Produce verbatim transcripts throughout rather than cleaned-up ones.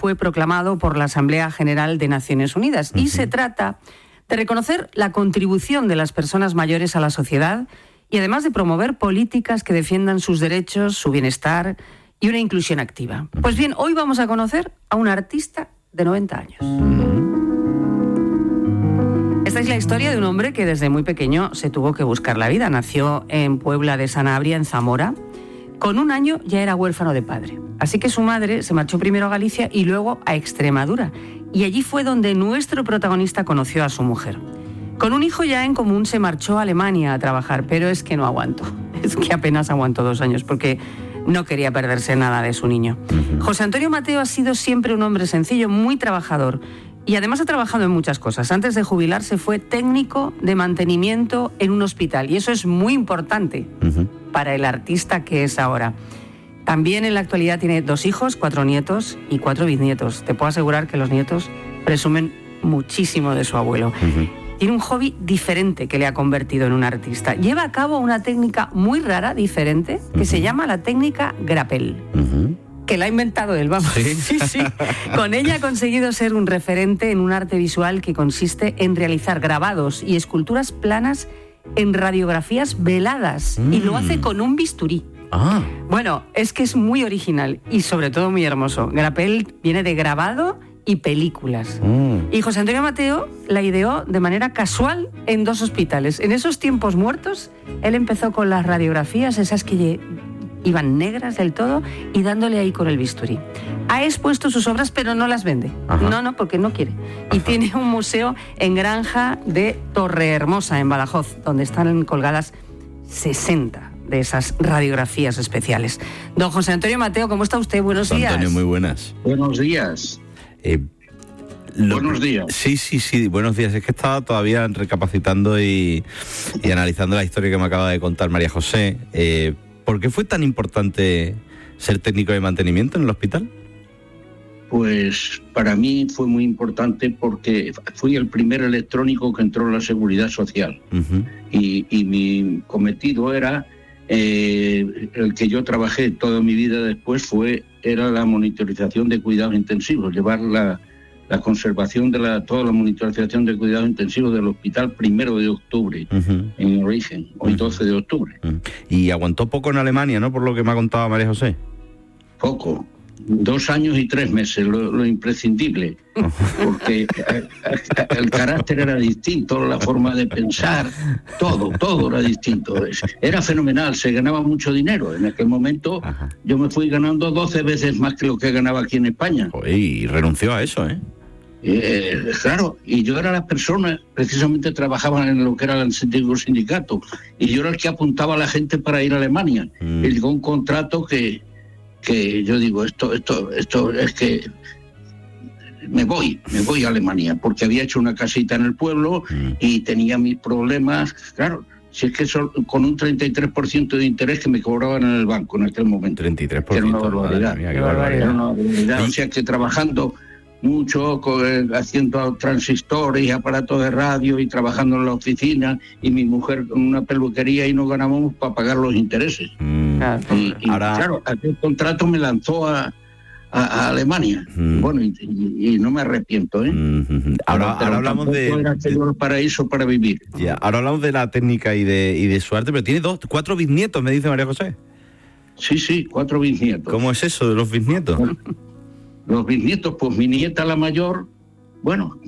fue proclamado por la Asamblea General de Naciones Unidas. Uh-huh. Y se trata de reconocer la contribución de las personas mayores a la sociedad y además de promover políticas que defiendan sus derechos, su bienestar y una inclusión activa. Pues bien, hoy vamos a conocer a un artista de noventa años. Esta es la historia de un hombre que desde muy pequeño se tuvo que buscar la vida. Nació en Puebla de Sanabria, en Zamora. Con un año ya era huérfano de padre. Así que su madre se marchó primero a Galicia y luego a Extremadura. Y allí fue donde nuestro protagonista conoció a su mujer. Con un hijo ya en común se marchó a Alemania a trabajar, pero es que no aguantó. Es que apenas aguantó dos años porque no quería perderse nada de su niño. Uh-huh. José Antonio Mateo ha sido siempre un hombre sencillo, muy trabajador. Y además ha trabajado en muchas cosas. Antes de jubilarse fue técnico de mantenimiento en un hospital. Y eso es muy importante uh-huh. para el artista que es ahora. También en la actualidad tiene dos hijos, cuatro nietos y cuatro bisnietos. Te puedo asegurar que los nietos presumen muchísimo de su abuelo. Uh-huh. Tiene un hobby diferente que le ha convertido en un artista. Lleva a cabo una técnica muy rara, diferente, que uh-huh. se llama la técnica grapel. Uh-huh. Que la ha inventado él, vamos. ¿Sí? Sí, sí. Con ella ha conseguido ser un referente en un arte visual que consiste en realizar grabados y esculturas planas en radiografías veladas. Mm. Y lo hace con un bisturí. Ah. Bueno, es que es muy original y sobre todo muy hermoso. Grapel viene de grabado y películas. Mm. Y José Antonio Mateo la ideó de manera casual en dos hospitales. En esos tiempos muertos, él empezó con las radiografías, esas que iban negras del todo, y dándole ahí con el bisturí. Ha expuesto sus obras, pero no las vende. Ajá. No, no, porque no quiere. Y Ajá. tiene un museo en Granja de Torrehermosa, en Badajoz, donde están colgadas sesenta de esas radiografías especiales. Don José Antonio Mateo, ¿cómo está usted? Buenos días. Antonio, muy buenas. Buenos días. Eh, lo, buenos días. Sí, sí, sí, buenos días. Es que estaba todavía recapacitando y, y analizando la historia que me acaba de contar María José. Eh, ¿Por qué fue tan importante ser técnico de mantenimiento en el hospital? Pues para mí fue muy importante porque fui el primer electrónico que entró en la Seguridad Social. Uh-huh. y, y mi cometido era, eh, el que yo trabajé toda mi vida después, fue era la monitorización de cuidados intensivos, llevar la, la conservación de la, toda la monitorización de cuidados intensivos del hospital primero de octubre, uh-huh. en origen, hoy uh-huh. doce de octubre. Uh-huh. Y aguantó poco en Alemania, ¿no? Por lo que me ha contado María José. Poco. Dos años y tres meses, lo, lo imprescindible, porque el carácter era distinto, la forma de pensar, todo, todo era distinto. Era fenomenal, se ganaba mucho dinero. En aquel momento Ajá. yo me fui ganando doce veces más que lo que ganaba aquí en España. Y renunció a eso, ¿eh? Eh, claro, y yo era la persona, precisamente trabajaba en lo que era el antiguo sindicato, y yo era el que apuntaba a la gente para ir a Alemania. Mm. Y llegó un contrato que, que yo digo, esto, esto, esto es que me voy, me voy a Alemania, porque había hecho una casita en el pueblo mm. y tenía mis problemas, claro. Si es que son con un treinta y tres por ciento de interés que me cobraban en el banco en aquel momento. treinta y tres por ciento. Era una barbaridad. Mía, qué barbaridad. Era una barbaridad. O sea que trabajando mucho, con, haciendo transistores y aparatos de radio y trabajando en la oficina, y mi mujer con una peluquería, y no ganábamos para pagar los intereses. Mm. Y, y Ahora... claro, aquel contrato me lanzó a, a, a Alemania. Mm. Bueno, y, y, y no me arrepiento, ¿eh? Mm-hmm. Ahora, ahora hablamos de... Era el paraíso para vivir. Ya, ahora hablamos de la técnica y de, y de su arte, pero tiene dos, cuatro bisnietos, me dice María José. Sí, sí, cuatro bisnietos. ¿Cómo es eso de los bisnietos? Bueno, los bisnietos, pues mi nieta la mayor, bueno,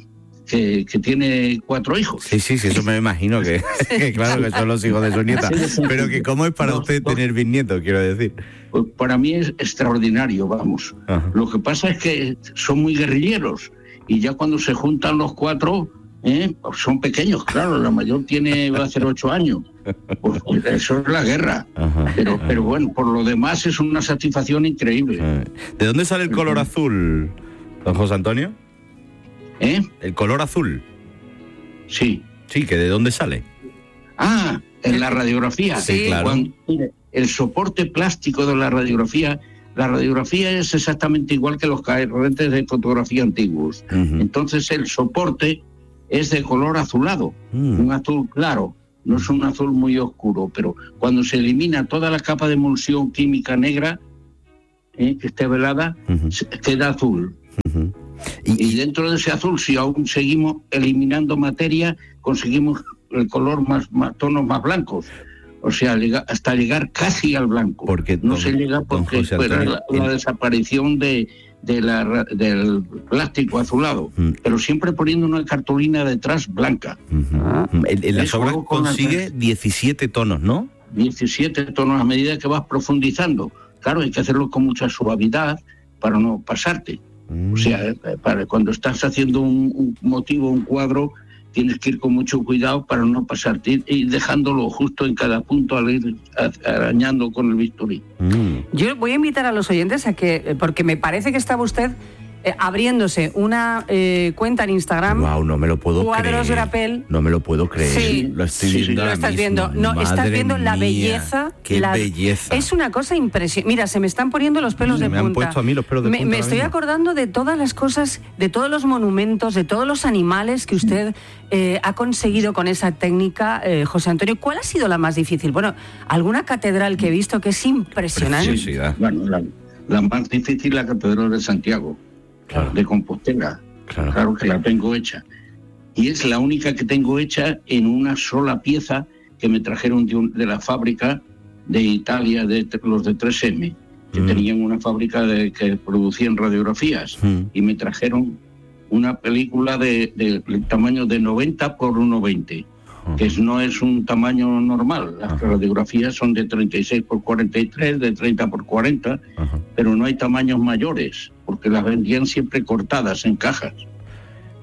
que, que tiene cuatro hijos. Sí, sí, sí, eso me imagino que, que claro que son los hijos de su nieta. Pero que ¿cómo es para no, usted no, tener bisnietos, quiero decir? Pues para mí es extraordinario, vamos. Ajá. Lo que pasa es que son muy guerrilleros, y ya cuando se juntan los cuatro, ¿eh? son pequeños, claro, la mayor tiene, va a hacer ocho años. Pues eso es la guerra. Ajá, pero, ajá. pero bueno, por lo demás es una satisfacción increíble. ¿De dónde sale el color azul, don José Antonio? ¿Eh? ¿El color azul? Sí. Sí, ¿que de dónde sale? Ah, en la radiografía. Sí, claro. Cuando, el soporte plástico de la radiografía, la radiografía es exactamente igual que los carretes de fotografía antiguos. Uh-huh. Entonces el soporte es de color azulado, uh-huh. un azul claro. No es un azul muy oscuro, pero cuando se elimina toda la capa de emulsión química negra, eh, que esté velada, uh-huh. queda azul. Y, y dentro de ese azul, si aún seguimos eliminando materia, conseguimos el color más, más tonos más blancos. O sea, hasta llegar casi al blanco. Porque no don, se llega porque fue la, la desaparición de, de la, del plástico azulado, mm. pero siempre poniendo una cartulina detrás blanca. Uh-huh. En, en las obras consigue diecisiete tonos, ¿no? diecisiete tonos a medida que vas profundizando. Claro, hay que hacerlo con mucha suavidad para no pasarte. Mm. O sea, para cuando estás haciendo un, un motivo, un cuadro, tienes que ir con mucho cuidado para no pasarte y dejándolo justo en cada punto al ir arañando con el bisturí. Mm. Yo voy a invitar a los oyentes a que, porque me parece que estaba usted eh, abriéndose una eh, cuenta en Instagram. Wow, no me lo puedo Cuadros creer. Grapel. No me lo puedo creer. Sí, lo estoy sí, viendo. Sí, ahora lo estás mismo. viendo. No, Madre estás viendo la mía, belleza. Qué la... belleza. Es una cosa impresionante. Mira, se me están poniendo los pelos sí, de me punta. Me han puesto a mí los pelos de me, punta. Me estoy mismo. acordando de todas las cosas, de todos los monumentos, de todos los animales que usted eh, ha conseguido con esa técnica, eh, José Antonio. ¿Cuál ha sido la más difícil? Bueno, alguna catedral que he visto que es impresionante. Preciosidad. Bueno, la, la más difícil la Catedral de Santiago, claro. de Compostela. Claro. claro que la tengo hecha. Y es la única que tengo hecha en una sola pieza que me trajeron de, un, de la fábrica de Italia, de los de tres eme, que mm. tenían una fábrica de, que producían radiografías. Mm. Y me trajeron una película de, de, de tamaño de noventa por uno veinte, uh-huh. que no es un tamaño normal. Las uh-huh. radiografías son de treinta y seis por cuarenta y tres, de treinta por cuarenta, uh-huh. pero no hay tamaños mayores, porque las vendían siempre cortadas en cajas.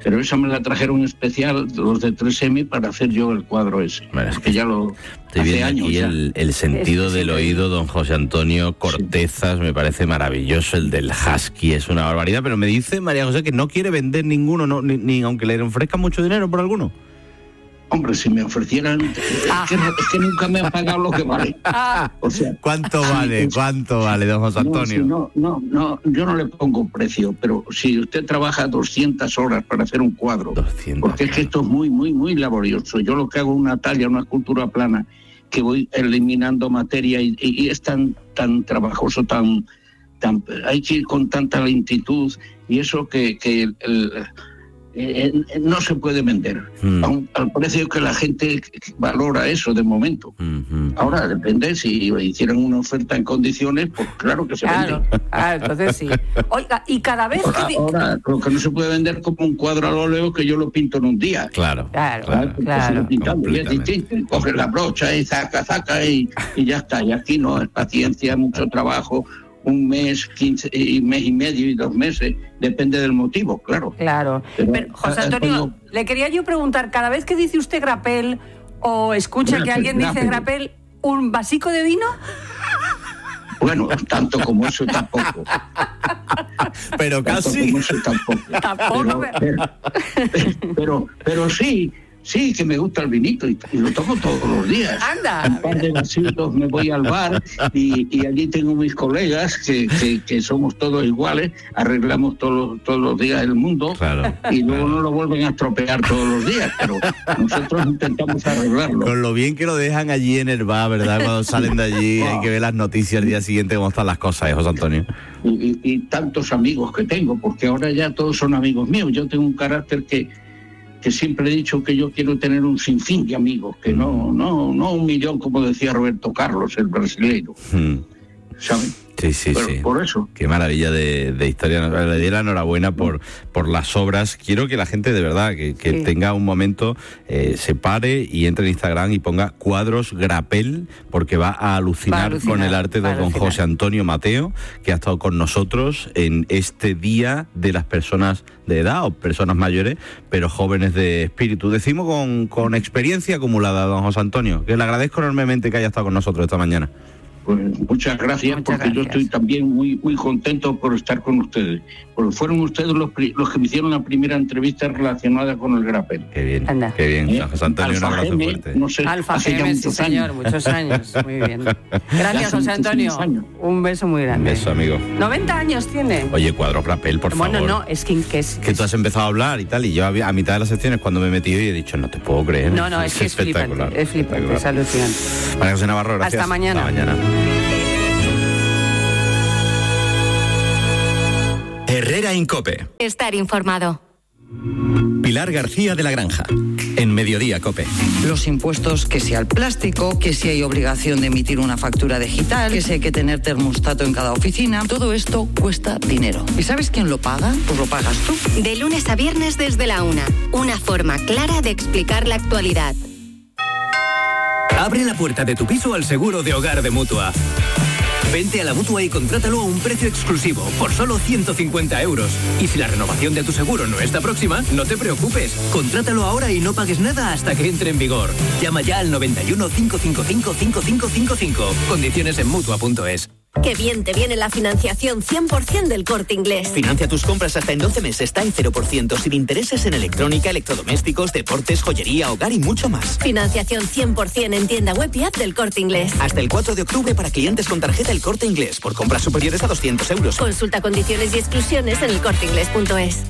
Pero esa me la trajeron especial los de tres eme para hacer yo el cuadro ese. Bueno, es que ya lo estoy hace viendo años aquí el, el sentido es, del oído, don José Antonio Cortezas, sí. me parece maravilloso. El del husky es una barbaridad, pero me dice María José que no quiere vender ninguno, no, ni, ni aunque le ofrezcan mucho dinero por alguno. Hombre, si me ofrecieran, ah. es, que, es que nunca me han pagado lo que vale. Ah. O sea, ¿cuánto vale? Sí, ¿Cuánto vale, don José Antonio? No, si no, no, no, yo no le pongo precio, pero si usted trabaja doscientas horas para hacer un cuadro, doscientas, porque es que esto es muy, muy, muy laborioso. Yo lo que hago es una talla, una escultura plana, que voy eliminando materia y, y, y es tan, tan trabajoso, tan, tan, hay que ir con tanta lentitud y eso que, que el, el Eh, eh, no se puede vender mm. Aun, al precio que la gente valora eso de momento. Mm-hmm. Ahora depende, si hicieran una oferta en condiciones, pues claro que se claro. vende. Ah, entonces sí. Oiga, y cada vez ahora, que... ahora lo que no se puede vender como un cuadro al óleo que yo lo pinto en un día. Claro, claro, claro. claro. Pintando, y es distinto, coges la brocha y saca, saca y, y ya está. Y aquí no, es paciencia, mucho trabajo. Un mes, quince, y mes y medio y dos meses, depende del motivo, claro. Claro. Pero, Pero José Antonio, como... le quería yo preguntar, cada vez que dice usted grapel o escucha bueno, que alguien grapel. dice grapel, ¿un vasico de vino? Bueno, tanto como eso tampoco. Pero tanto casi. Como eso tampoco. Tampoco. Pero, pero, pero, pero sí. Sí, que me gusta el vinito y, y lo tomo todos los días. Anda. Un par de vasitos me voy al bar y, y allí tengo mis colegas que, que, que somos todos iguales, arreglamos todos, todos los días el mundo claro, y luego claro. no lo vuelven a estropear todos los días, pero nosotros intentamos arreglarlo. Con lo bien que lo dejan allí en el bar, ¿verdad? Cuando salen de allí wow. hay que ver las noticias el día siguiente cómo están las cosas, ¿eh, José Antonio? Y, y, y tantos amigos que tengo, porque ahora ya todos son amigos míos. Yo tengo un carácter que que siempre he dicho que yo quiero tener un sinfín de amigos, que no, no, no un millón, como decía Roberto Carlos, el brasileño. Mm. ¿Saben? Sí, sí, Pero sí. Por eso. Qué maravilla de, de historia. Le doy la enhorabuena por, por las obras. Quiero que la gente de verdad, que, que sí. tenga un momento, eh, se pare y entre en Instagram y ponga Cuadros Grapel, porque va a alucinar, va a alucinar con el arte de don José Antonio Mateo, que ha estado con nosotros en este día de las personas de edad o personas mayores, pero jóvenes de espíritu. Decimos con, con experiencia acumulada, don José Antonio, que le agradezco enormemente que haya estado con nosotros esta mañana. Pues muchas gracias, muchas porque gracias. Yo estoy también muy muy contento por estar con ustedes, porque fueron ustedes los, los que me hicieron la primera entrevista relacionada con el grapel. Qué bien, Anda. qué bien. ¿Eh? José Antonio, Alfa un abrazo Geme, fuerte. No sé, Alfa Geme, sí señor, años. muchos años, muy bien. Gracias, José Antonio, un beso muy grande. Un beso, amigo. noventa años tiene. Oye, Cuadros Grapel, por bueno, favor. Bueno, no, es que, que es... Que tú has empezado a hablar y tal, y yo a mitad de las secciones cuando me he metido y he dicho, no te puedo creer. No, no, es, es que es flipante, es flipante, es alucinante. María José Navarro, gracias. Hasta mañana. Hasta mañana. Herrera en COPE. Estar informado. Pilar García de la Granja, en Mediodía COPE. Los impuestos, que si al plástico, que si hay obligación de emitir una factura digital, que si hay que tener termostato en cada oficina, todo esto cuesta dinero. ¿Y sabes quién lo paga? Pues lo pagas tú. De lunes a viernes desde la una. Una forma clara de explicar la actualidad. Abre la puerta de tu piso al seguro de hogar de Mutua. Vente a la Mutua y contrátalo a un precio exclusivo, por solo ciento cincuenta euros. Y si la renovación de tu seguro no está próxima, no te preocupes. Contrátalo ahora y no pagues nada hasta que entre en vigor. Llama ya al noventa y uno, cincuenta y cinco, cincuenta y cinco cincuenta y cinco. Condiciones en Mutua punto es. Qué bien te viene la financiación cien por ciento del Corte Inglés. Financia tus compras hasta en doce meses, está en cero por ciento, sin intereses en electrónica, electrodomésticos, deportes, joyería, hogar y mucho más. Financiación cien por ciento en tienda web y app del Corte Inglés. Hasta el cuatro de octubre para clientes con tarjeta El Corte Inglés, por compras superiores a doscientos euros. Consulta condiciones y exclusiones en el corte inglés punto es.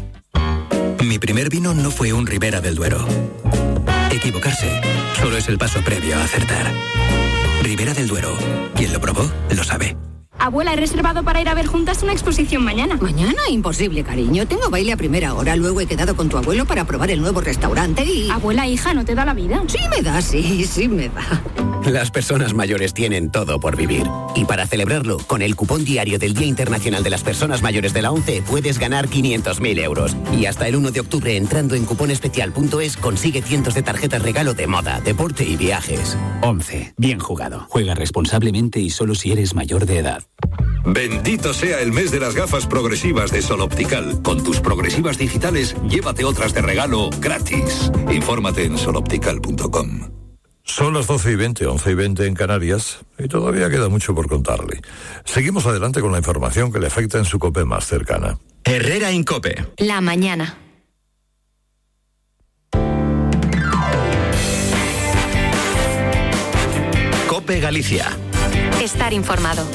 Mi primer vino no fue un Ribera del Duero. Equivocarse solo es el paso previo a acertar. Ribera del Duero. Quien lo probó, lo sabe. Abuela, he reservado para ir a ver juntas una exposición mañana. ¿Mañana? Imposible, cariño. Tengo baile a primera hora. Luego he quedado con tu abuelo para probar el nuevo restaurante y... Abuela, hija, ¿no te da la vida? Sí me da, sí, sí me da. Las personas mayores tienen todo por vivir. Y para celebrarlo, con el cupón diario del Día Internacional de las Personas Mayores de la ONCE, puedes ganar quinientos mil euros. Y hasta el uno de octubre, entrando en cuponespecial punto es, consigue cientos de tarjetas regalo de moda, deporte y viajes. ONCE. Bien jugado. Juega responsablemente y solo si eres mayor de edad. Bendito sea el mes de las gafas progresivas de Sol Optical. Con tus progresivas digitales, llévate otras de regalo gratis. Infórmate en sol optical punto com. Son las doce y veinte, once y veinte en Canarias, y todavía queda mucho por contarle. Seguimos adelante con la información que le afecta en su COPE más cercana. Herrera en COPE. La mañana. COPE Galicia. Estar informado.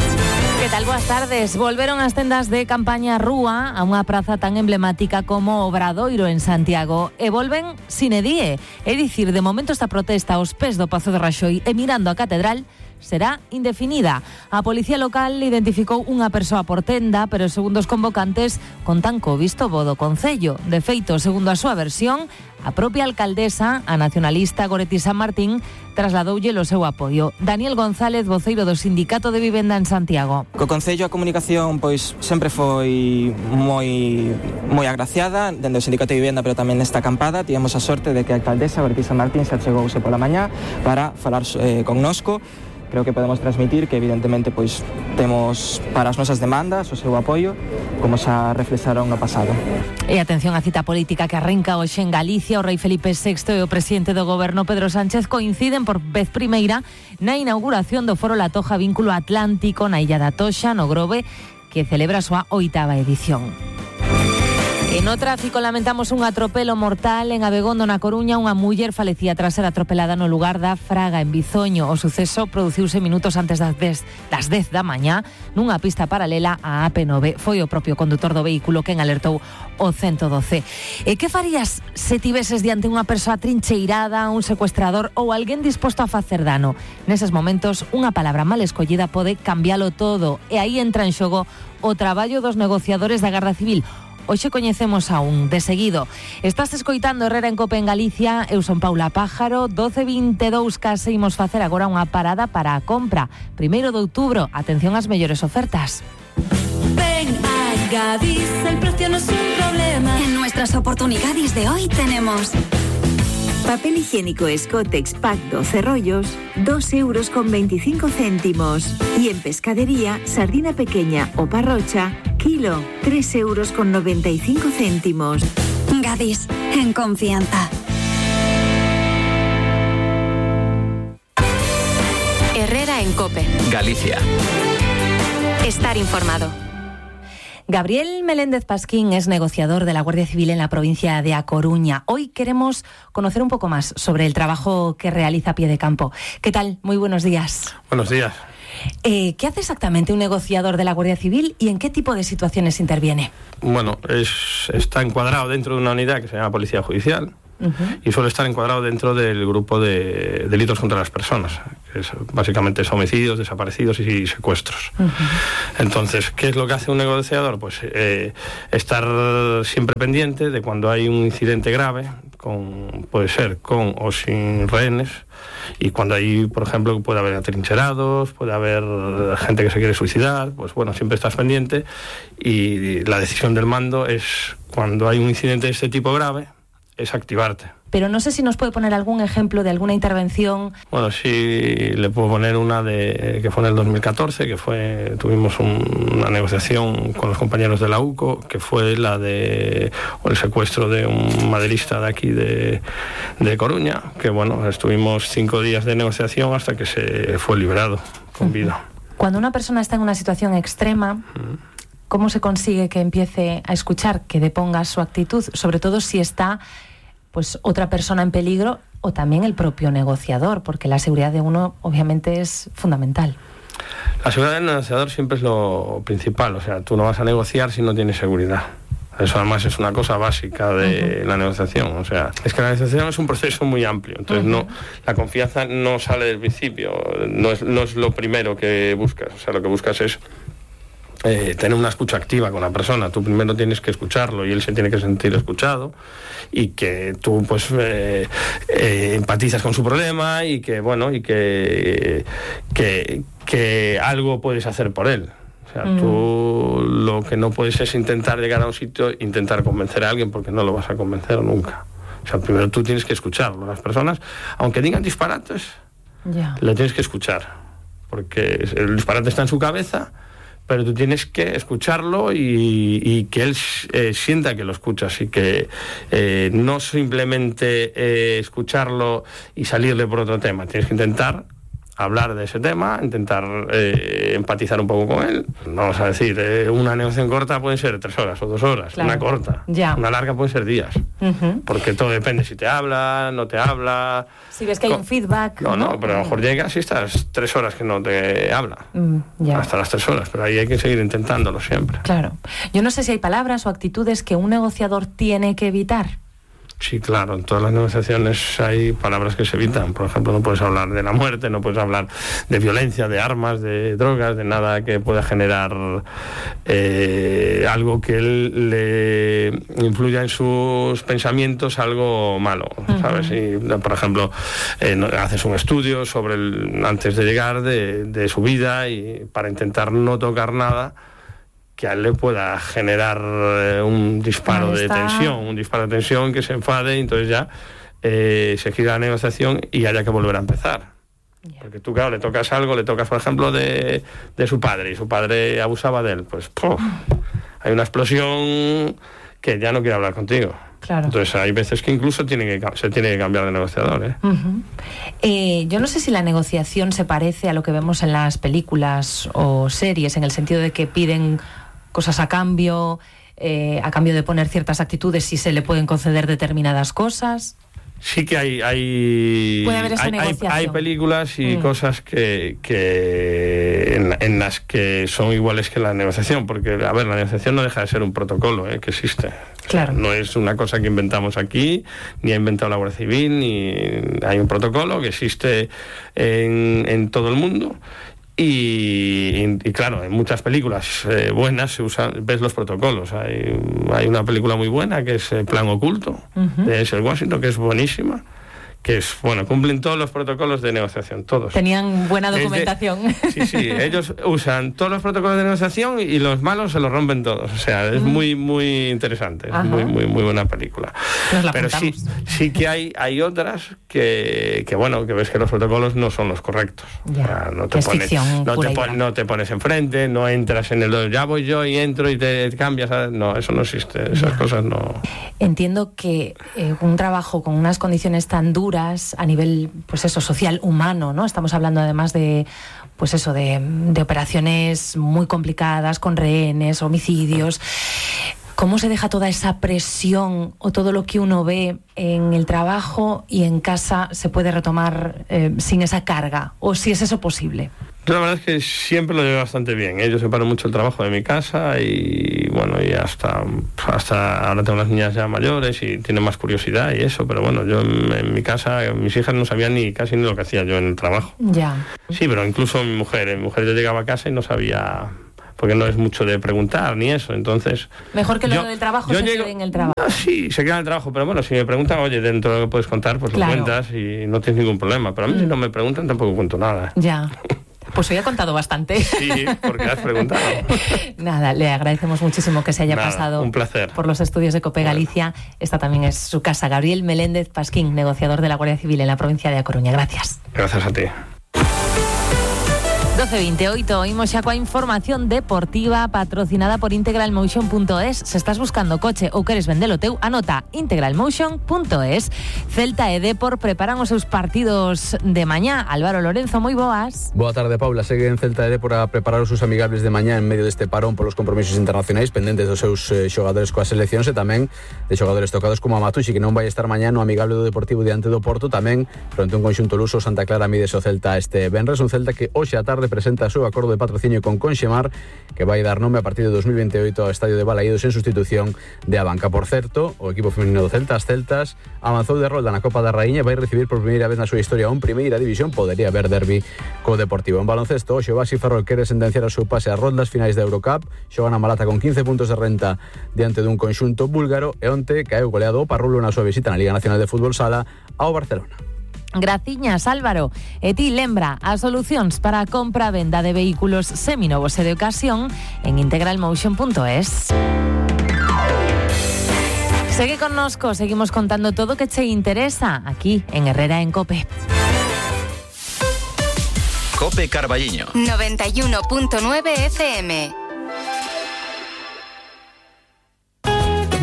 Que tal? Boas tardes. Volveron as tendas de campaña Rúa a unha praza tan emblemática como Obradoiro en Santiago e volven sine die. É dicir, de momento esta protesta aos pés do Pazo de Raxoi e mirando a catedral será indefinida. A Policía Local identificou unha persoa por tenda, pero segundo os convocantes contan co visto bo do Concello. De feito, segundo a súa versión, a propia alcaldesa, a nacionalista Goretti San Martín, trasladoulle o seu apoio. Daniel González, voceiro do Sindicato de Vivenda en Santiago. Co Concello a comunicación pois sempre foi moi moi agraciada dende o Sindicato de Vivenda, pero tamén nesta acampada tivemos a sorte de que a alcaldesa Goretti San Martín se achegouse pola mañá para falar eh, connosco. Creo que podemos transmitir que evidentemente pois temos para as nosas demandas o seu apoio, como xa reflexaron no pasado. E atención á cita política que arranca hoxe en Galicia. O rei Felipe sexto e o presidente do goberno Pedro Sánchez coinciden por vez primeira na inauguración do Foro La Toja Vínculo Atlántico na Illa da Toxa, no Grove, que celebra a súa oitava edición. E no tráfico lamentamos un atropelo mortal en Abegondo, na Coruña. Unha muller falecía tras ser atropelada no lugar da Fraga, en Bizoño. O suceso produciuse minutos antes das dez, das dez da mañá nunha pista paralela á A P nove. Foi o propio condutor do vehículo quen alertou o ciento doce. E que farías se tiveses diante unha persoa trincheirada, un secuestrador ou alguén disposto a facer dano? Neses momentos, unha palabra mal escollida pode cambialo todo. E aí entra en xogo o traballo dos negociadores da Garda Civil. Hoxe coñecemos a un de seguido. Estás escoitando Herrera en COPE en Galicia. Eu son Paula Pájaro. doce vinte e dous case imos facer agora unha parada para a compra. Primeiro de outubro, atención ás mellores ofertas. Ven a Gadis, el precio no es un problema. En nuestras oportunidades de hoy tenemos papel higiénico Scottex Pack doce rollos, dos euros con veinticinco céntimos. Y en pescadería, sardina pequeña o parrocha, kilo, tres euros con noventa y cinco céntimos. Gadis, en confianza. Herrera en COPE. Galicia. Estar informado. Gabriel Meléndez Pasquín es negociador de la Guardia Civil en la provincia de A Coruña. Hoy queremos conocer un poco más sobre el trabajo que realiza a pie de campo. ¿Qué tal? Muy buenos días. Buenos días. Eh, ¿Qué hace exactamente un negociador de la Guardia Civil y en qué tipo de situaciones interviene? Bueno, es, está encuadrado dentro de una unidad que se llama Policía Judicial, Uh-huh. Y suele estar encuadrado dentro del grupo de delitos contra las personas, que es básicamente homicidios, desaparecidos y secuestros. Uh-huh. Entonces, ¿qué es lo que hace un negociador? Pues eh, estar siempre pendiente de cuando hay un incidente grave, con, puede ser con o sin rehenes, y cuando hay, por ejemplo, puede haber atrincherados, puede haber gente que se quiere suicidar, pues bueno, siempre estás pendiente, y la decisión del mando es, cuando hay un incidente de este tipo grave, es activarte. Pero no sé si nos puede poner algún ejemplo de alguna intervención. Bueno, sí, le puedo poner una de que fue en el dos mil catorce, que fue, tuvimos un, una negociación con los compañeros de la U C O, que fue la de o el secuestro de un maderista de aquí de, de Coruña, que bueno, estuvimos cinco días de negociación hasta que se fue liberado con vida. Cuando una persona está en una situación extrema, ¿cómo se consigue que empiece a escuchar, que deponga su actitud? Sobre todo si está pues otra persona en peligro o también el propio negociador, porque la seguridad de uno obviamente es fundamental. La seguridad del negociador siempre es lo principal, o sea, tú no vas a negociar si no tienes seguridad. Eso además es una cosa básica de uh-huh. la negociación, o sea, es que la negociación es un proceso muy amplio, entonces uh-huh. no, la confianza no sale del principio, no es, no es lo primero que buscas, o sea, lo que buscas es Eh, tener una escucha activa con la persona. Tú primero tienes que escucharlo y él se tiene que sentir escuchado, y que tú pues eh, eh, empatizas con su problema, y que bueno y que, que que algo puedes hacer por él. O sea, mm. tú lo que no puedes es intentar llegar a un sitio, intentar convencer a alguien, porque no lo vas a convencer nunca. O sea, primero tú tienes que escucharlo. Las personas, aunque digan disparates, yeah. le tienes que escuchar, porque el disparate está en su cabeza, pero tú tienes que escucharlo y, y que él eh, sienta que lo escuchas, y que eh, no simplemente eh, escucharlo y salirle por otro tema. Tienes que intentar hablar de ese tema, intentar eh, empatizar un poco con él. Vamos a decir, eh, una negociación corta puede ser tres horas o dos horas, claro. Una corta. Ya. Una larga puede ser días, uh-huh. porque todo depende si te habla, no te habla. Si ves que hay un feedback. No, no, pero a lo mejor llegas y estás tres horas que no te habla, mm, ya. hasta las tres horas, pero ahí hay que seguir intentándolo siempre. Claro. Yo no sé si hay palabras o actitudes que un negociador tiene que evitar. Sí, claro, en todas las negociaciones hay palabras que se evitan. Por ejemplo, no puedes hablar de la muerte, no puedes hablar de violencia, de armas, de drogas, de nada que pueda generar eh, algo que él le influya en sus pensamientos, algo malo, ¿sabes? Uh-huh. Y, por ejemplo, eh, haces un estudio sobre el, antes de llegar de, de su vida, y para intentar no tocar nada que a él le pueda generar eh, un disparo de tensión, un disparo de tensión, que se enfade, y entonces ya eh, se gira la negociación y haya que volver a empezar. Yeah. Porque tú, claro, le tocas algo, le tocas, por ejemplo, de, de su padre, y su padre abusaba de él, pues ¡puf! Hay una explosión que ya no quiere hablar contigo. Claro. Entonces hay veces que incluso tiene que, se tiene que cambiar de negociador. ¿eh? Uh-huh. Eh, yo no sé si la negociación se parece a lo que vemos en las películas o series, en el sentido de que piden cosas a cambio, eh, a cambio de poner ciertas actitudes, si se le pueden conceder determinadas cosas. Sí que hay hay, ¿Puede haber esa hay, negociación? hay, hay películas y mm. cosas que, que en, en las que son iguales que la negociación, porque a ver, la negociación no deja de ser un protocolo ¿eh? que existe. Claro. O sea, no es una cosa que inventamos aquí, ni ha inventado la Guardia Civil, ni hay un protocolo que existe en, en todo el mundo. Y, y, y claro, en muchas películas eh, buenas se usan, ves los protocolos. Hay, hay una película muy buena que es eh, Plan Oculto, uh-huh. de Denzel Washington, que es buenísima, que es, bueno, cumplen todos los protocolos de negociación, todos. Tenían buena documentación. De, sí, sí, ellos usan todos los protocolos de negociación y los malos se los rompen todos. O sea, es uh-huh. muy, muy interesante, es muy, muy, muy buena película. Pero sí, sí que hay, hay otras que, que, bueno, que ves que los protocolos no son los correctos. Ya, o sea, no te pones, ficción, no, te pon, no te pones enfrente, no entras en el, ya voy yo y entro y te cambias. ¿Sabes? No, eso no existe, esas ya. cosas no. Entiendo que eh, un trabajo con unas condiciones tan duras a nivel, pues eso, social, humano, ¿no? Estamos hablando además de, pues eso, de, de operaciones muy complicadas, con rehenes, homicidios. ¿Cómo se deja toda esa presión o todo lo que uno ve en el trabajo y en casa se puede retomar eh, sin esa carga? ¿O si es eso posible? Yo la verdad es que siempre lo llevo bastante bien, ¿eh? Yo separo mucho el trabajo de mi casa y bueno, y hasta, hasta ahora tengo las niñas ya mayores y tienen más curiosidad y eso, pero bueno, yo en, en mi casa, mis hijas no sabían ni casi ni lo que hacía yo en el trabajo. Ya. Sí, pero incluso mi mujer, mi mujer yo llegaba a casa y no sabía, porque no es mucho de preguntar ni eso, entonces... Mejor que lo yo, del trabajo se llego, quede en el trabajo. No, sí, se queda en el trabajo, pero bueno, si me preguntan, oye, dentro de lo que puedes contar, pues claro, lo cuentas y no tienes ningún problema, pero a mí mm. si no me preguntan tampoco cuento nada. Ya. Pues hoy ha contado bastante. Sí, porque has preguntado. Nada, le agradecemos muchísimo que se haya Nada, pasado un placer. por los estudios de COPE Galicia. Bueno. Esta también es su casa. Gabriel Meléndez Pasquín, negociador de la Guardia Civil en la provincia de A Coruña. Gracias. Gracias a ti. doce veintiocho, oímos xa coa información deportiva patrocinada por integralmotion punto es. Se estás buscando coche ou queres vendelo teu, anota integralmotion punto es. Celta e Depor preparan os seus partidos de mañá. Álvaro Lorenzo, moi boas. Boa tarde, Paula. Seguen Celta e Depor a preparar os seus amigables de mañá en medio deste parón polos compromisos internacionais pendentes dos seus eh, xogadores coas seleccións e tamén de xogadores tocados como a Matucci, que non vai estar mañá no amigable do Deportivo diante do Porto. Tamén, fronte a un conxunto luso, Santa Clara mide o Celta este venres. Un Celta que hoxe a tarde presenta o seu acordo de patrocinio con Conxemar, que vai dar nome a partir de dos mil veintiocho ao estadio de Balaídos en sustitución de Abanca. Por certo, o equipo feminino do Celta, as Celtas, avanzou de rolda na Copa da Raíña e vai recibir por primeira vez na súa historia un primeira división. Podería haber derbi co Deportivo. En baloncesto, hoxe o Baxi Ferrol quere sentenciar o seu pase ás rondas finais da Eurocup. Xogan a Malata con quince puntos de renta diante dun conxunto búlgaro e onte caeu goleado o Parrulo na súa visita na Liga Nacional de Fútbol Sala ao Barcelona. Graciñas, Álvaro. E ti lembra as solucións para a compra e venda de vehículos seminovos e de ocasión en integralmotion punto es. Segue connosco, seguimos contando todo que che interesa aquí en Herrera en COPE. COPE Carballiño noventa y uno punto nueve F M.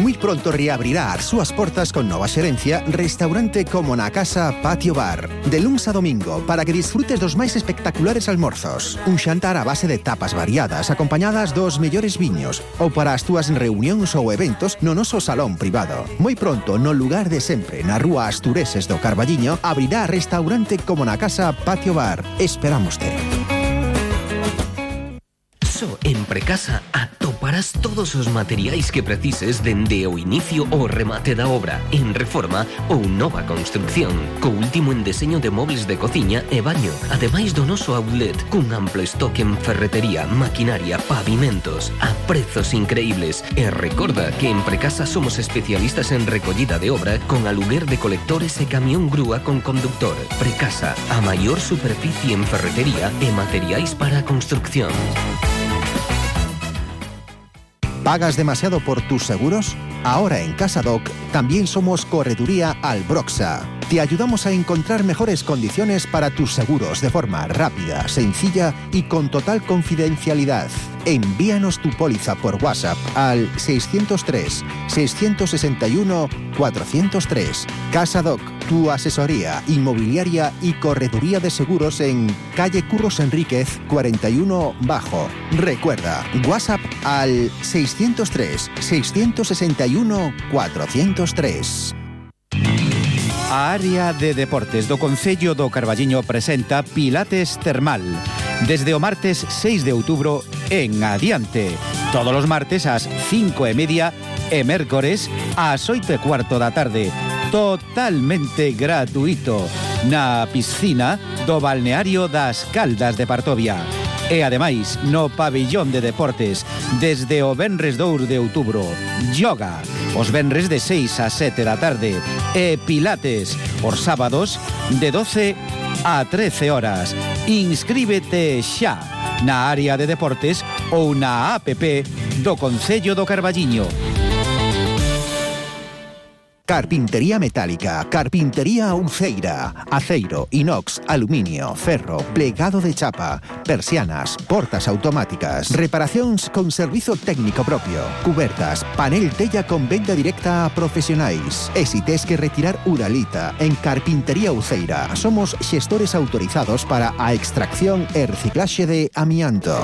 Muy pronto reabrirá as súas portas con nova xerencia Restaurante Como na Casa Patio Bar. De luns a domingo, para que disfrutes dos máis espectaculares almorzos. Un xantar a base de tapas variadas acompañadas dos mellores viños, ou para as túas reunións ou eventos no noso salón privado. Moi pronto, no lugar de sempre, na rúa Astureses do Carballiño, abrirá Restaurante Como na Casa Patio Bar. Esperámoste. En Precasa atoparás todos os materiais que precises dende o inicio ao remate da obra, en reforma ou nova construcción, co último en deseño de mobles de cociña e baño, ademais do noso outlet, cun amplo estoque en ferretería, maquinaria, pavimentos, a prezos increíbles. E recorda que en Precasa somos especialistas en recollida de obra con aluguer de colectores e camión grúa con conductor. Precasa, a maior superficie en ferretería e materiais para a construcción. ¿Pagas demasiado por tus seguros? Ahora en CasaDoc también somos Correduría Albroxa. Te ayudamos a encontrar mejores condiciones para tus seguros de forma rápida, sencilla y con total confidencialidad. Envíanos tu póliza por WhatsApp al seiscientos tres, seiscientos sesenta y uno, cuatrocientos tres. CasaDoc, tu asesoría inmobiliaria y correduría de seguros en calle Curros Enríquez cuarenta y uno Bajo. Recuerda, WhatsApp al seiscientos tres, seiscientos sesenta y uno, cuatrocientos tres. A área de deportes do Concello do Carballiño presenta Pilates Termal. Desde o martes seis de outubro en adiante. Todos os martes ás cinco e media e mércores ás oito e cuarto da tarde. Totalmente gratuito. Na piscina do balneario das Caldas de Partovia. E ademais, no pabillón de deportes, desde o venres dous de outubro, yoga, os venres de seis a sete da tarde, e pilates, os sábados, de doce a trece horas. Inscríbete xa na área de deportes ou na app do Concello do Carballiño. Carpintería metálica, carpintería Uceira, aceiro, inox, aluminio, ferro, plegado de chapa, persianas, portas automáticas, reparacións con servizo técnico propio, cubertas, panel tella con venda directa a profesionais. E si tes que retirar uralita, en Carpintería Uceira somos xestores autorizados para a extracción e reciclaxe de amianto.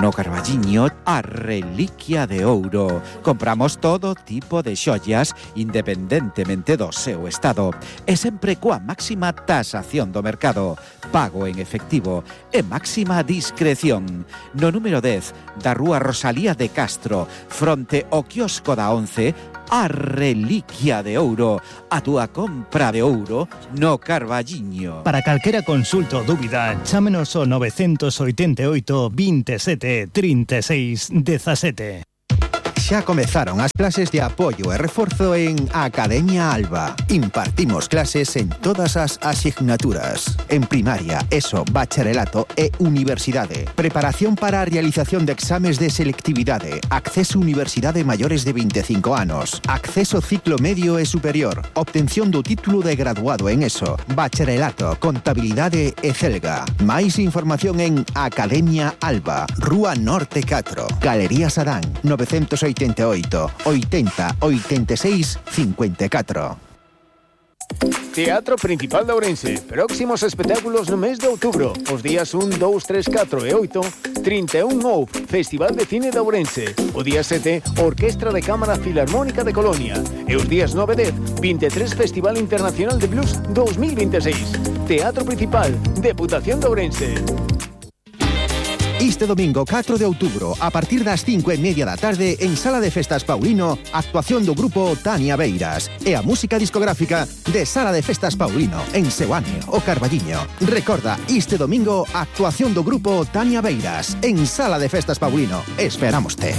No Carballiño, a reliquia de ouro. Compramos todo tipo de xollas independentemente do seu estado e sempre coa máxima tasación do mercado, pago en efectivo e máxima discreción. No número dez da rúa Rosalía de Castro, fronte ao quiosco da once, a reliquia de ouro, a túa compra de ouro no Carballiño. Para calquera consulta ou dúbida, chámenos ao nove oito oito, veintisiete, treinta e seis, dezasete. Xa comezaron as clases de apoio e reforzo en Academia Alba. Impartimos clases en todas as asignaturas. En primaria, ESO, bacharelato e universidade. Preparación para a realización de exames de selectividade. Acceso a universidade maiores de veinticinco anos. Acceso ciclo medio e superior. Obtención do título de graduado en ESO, bacharelato, contabilidade e celga. Máis información en Academia Alba, Rúa Norte catro, Galería Sadán, novecientos oitenta e oito, oitenta, oitenta e seis, cincuenta e catro. Teatro Principal de Ourense. Próximos espectáculos no mes de outubro. Os días un, dous, tres, catro e oito, trinta e un O U F, Festival de Cine de Ourense. O día sete, Orquestra de Cámara Filarmónica de Colonia. E os días nove e dez, vinte e tres, Festival Internacional de Blues dos mil veintiséis. Teatro Principal, Deputación de Ourense. Este domingo catro de outubro, a partir das cinco e media da tarde, en Sala de Festas Paulino, actuación do grupo Tania Beiras e a música discográfica de Sala de Festas Paulino, en Seoane, o Carballiño. Recorda, este domingo, actuación do grupo Tania Beiras, en Sala de Festas Paulino. Esperámoste.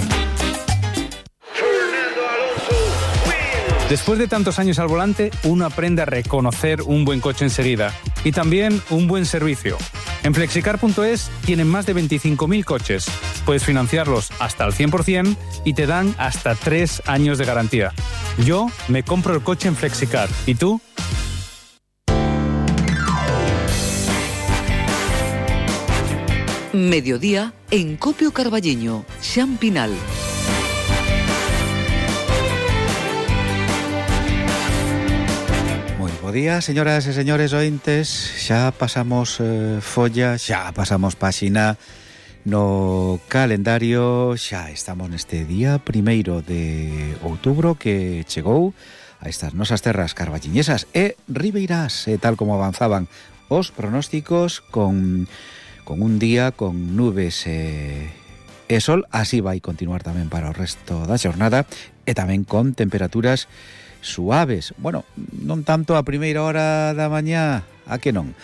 Después de tantos años al volante, uno aprende a reconocer un buen coche enseguida y también un buen servicio. En flexicar punto es tienen más de veinticinco mil coches. Puedes financiarlos hasta el cien por ciento y te dan hasta tres años de garantía. Yo me compro el coche en Flexicar. ¿Y tú? Mediodía en Copio Carballiño, Xan Pinal. Bo día, señoras e señores ointes. Xa pasamos eh, folla, xa pasamos páxina no calendario. Xa estamos neste día primeiro de outubro que chegou a estas nosas terras carballiñesas e ribeirás, e tal como avanzaban os pronósticos, con, con un día con nubes e, e sol. Así vai continuar tamén para o resto da xornada, e tamén con temperaturas suaves. Bueno, non tanto a primeira hora da mañá, a que non,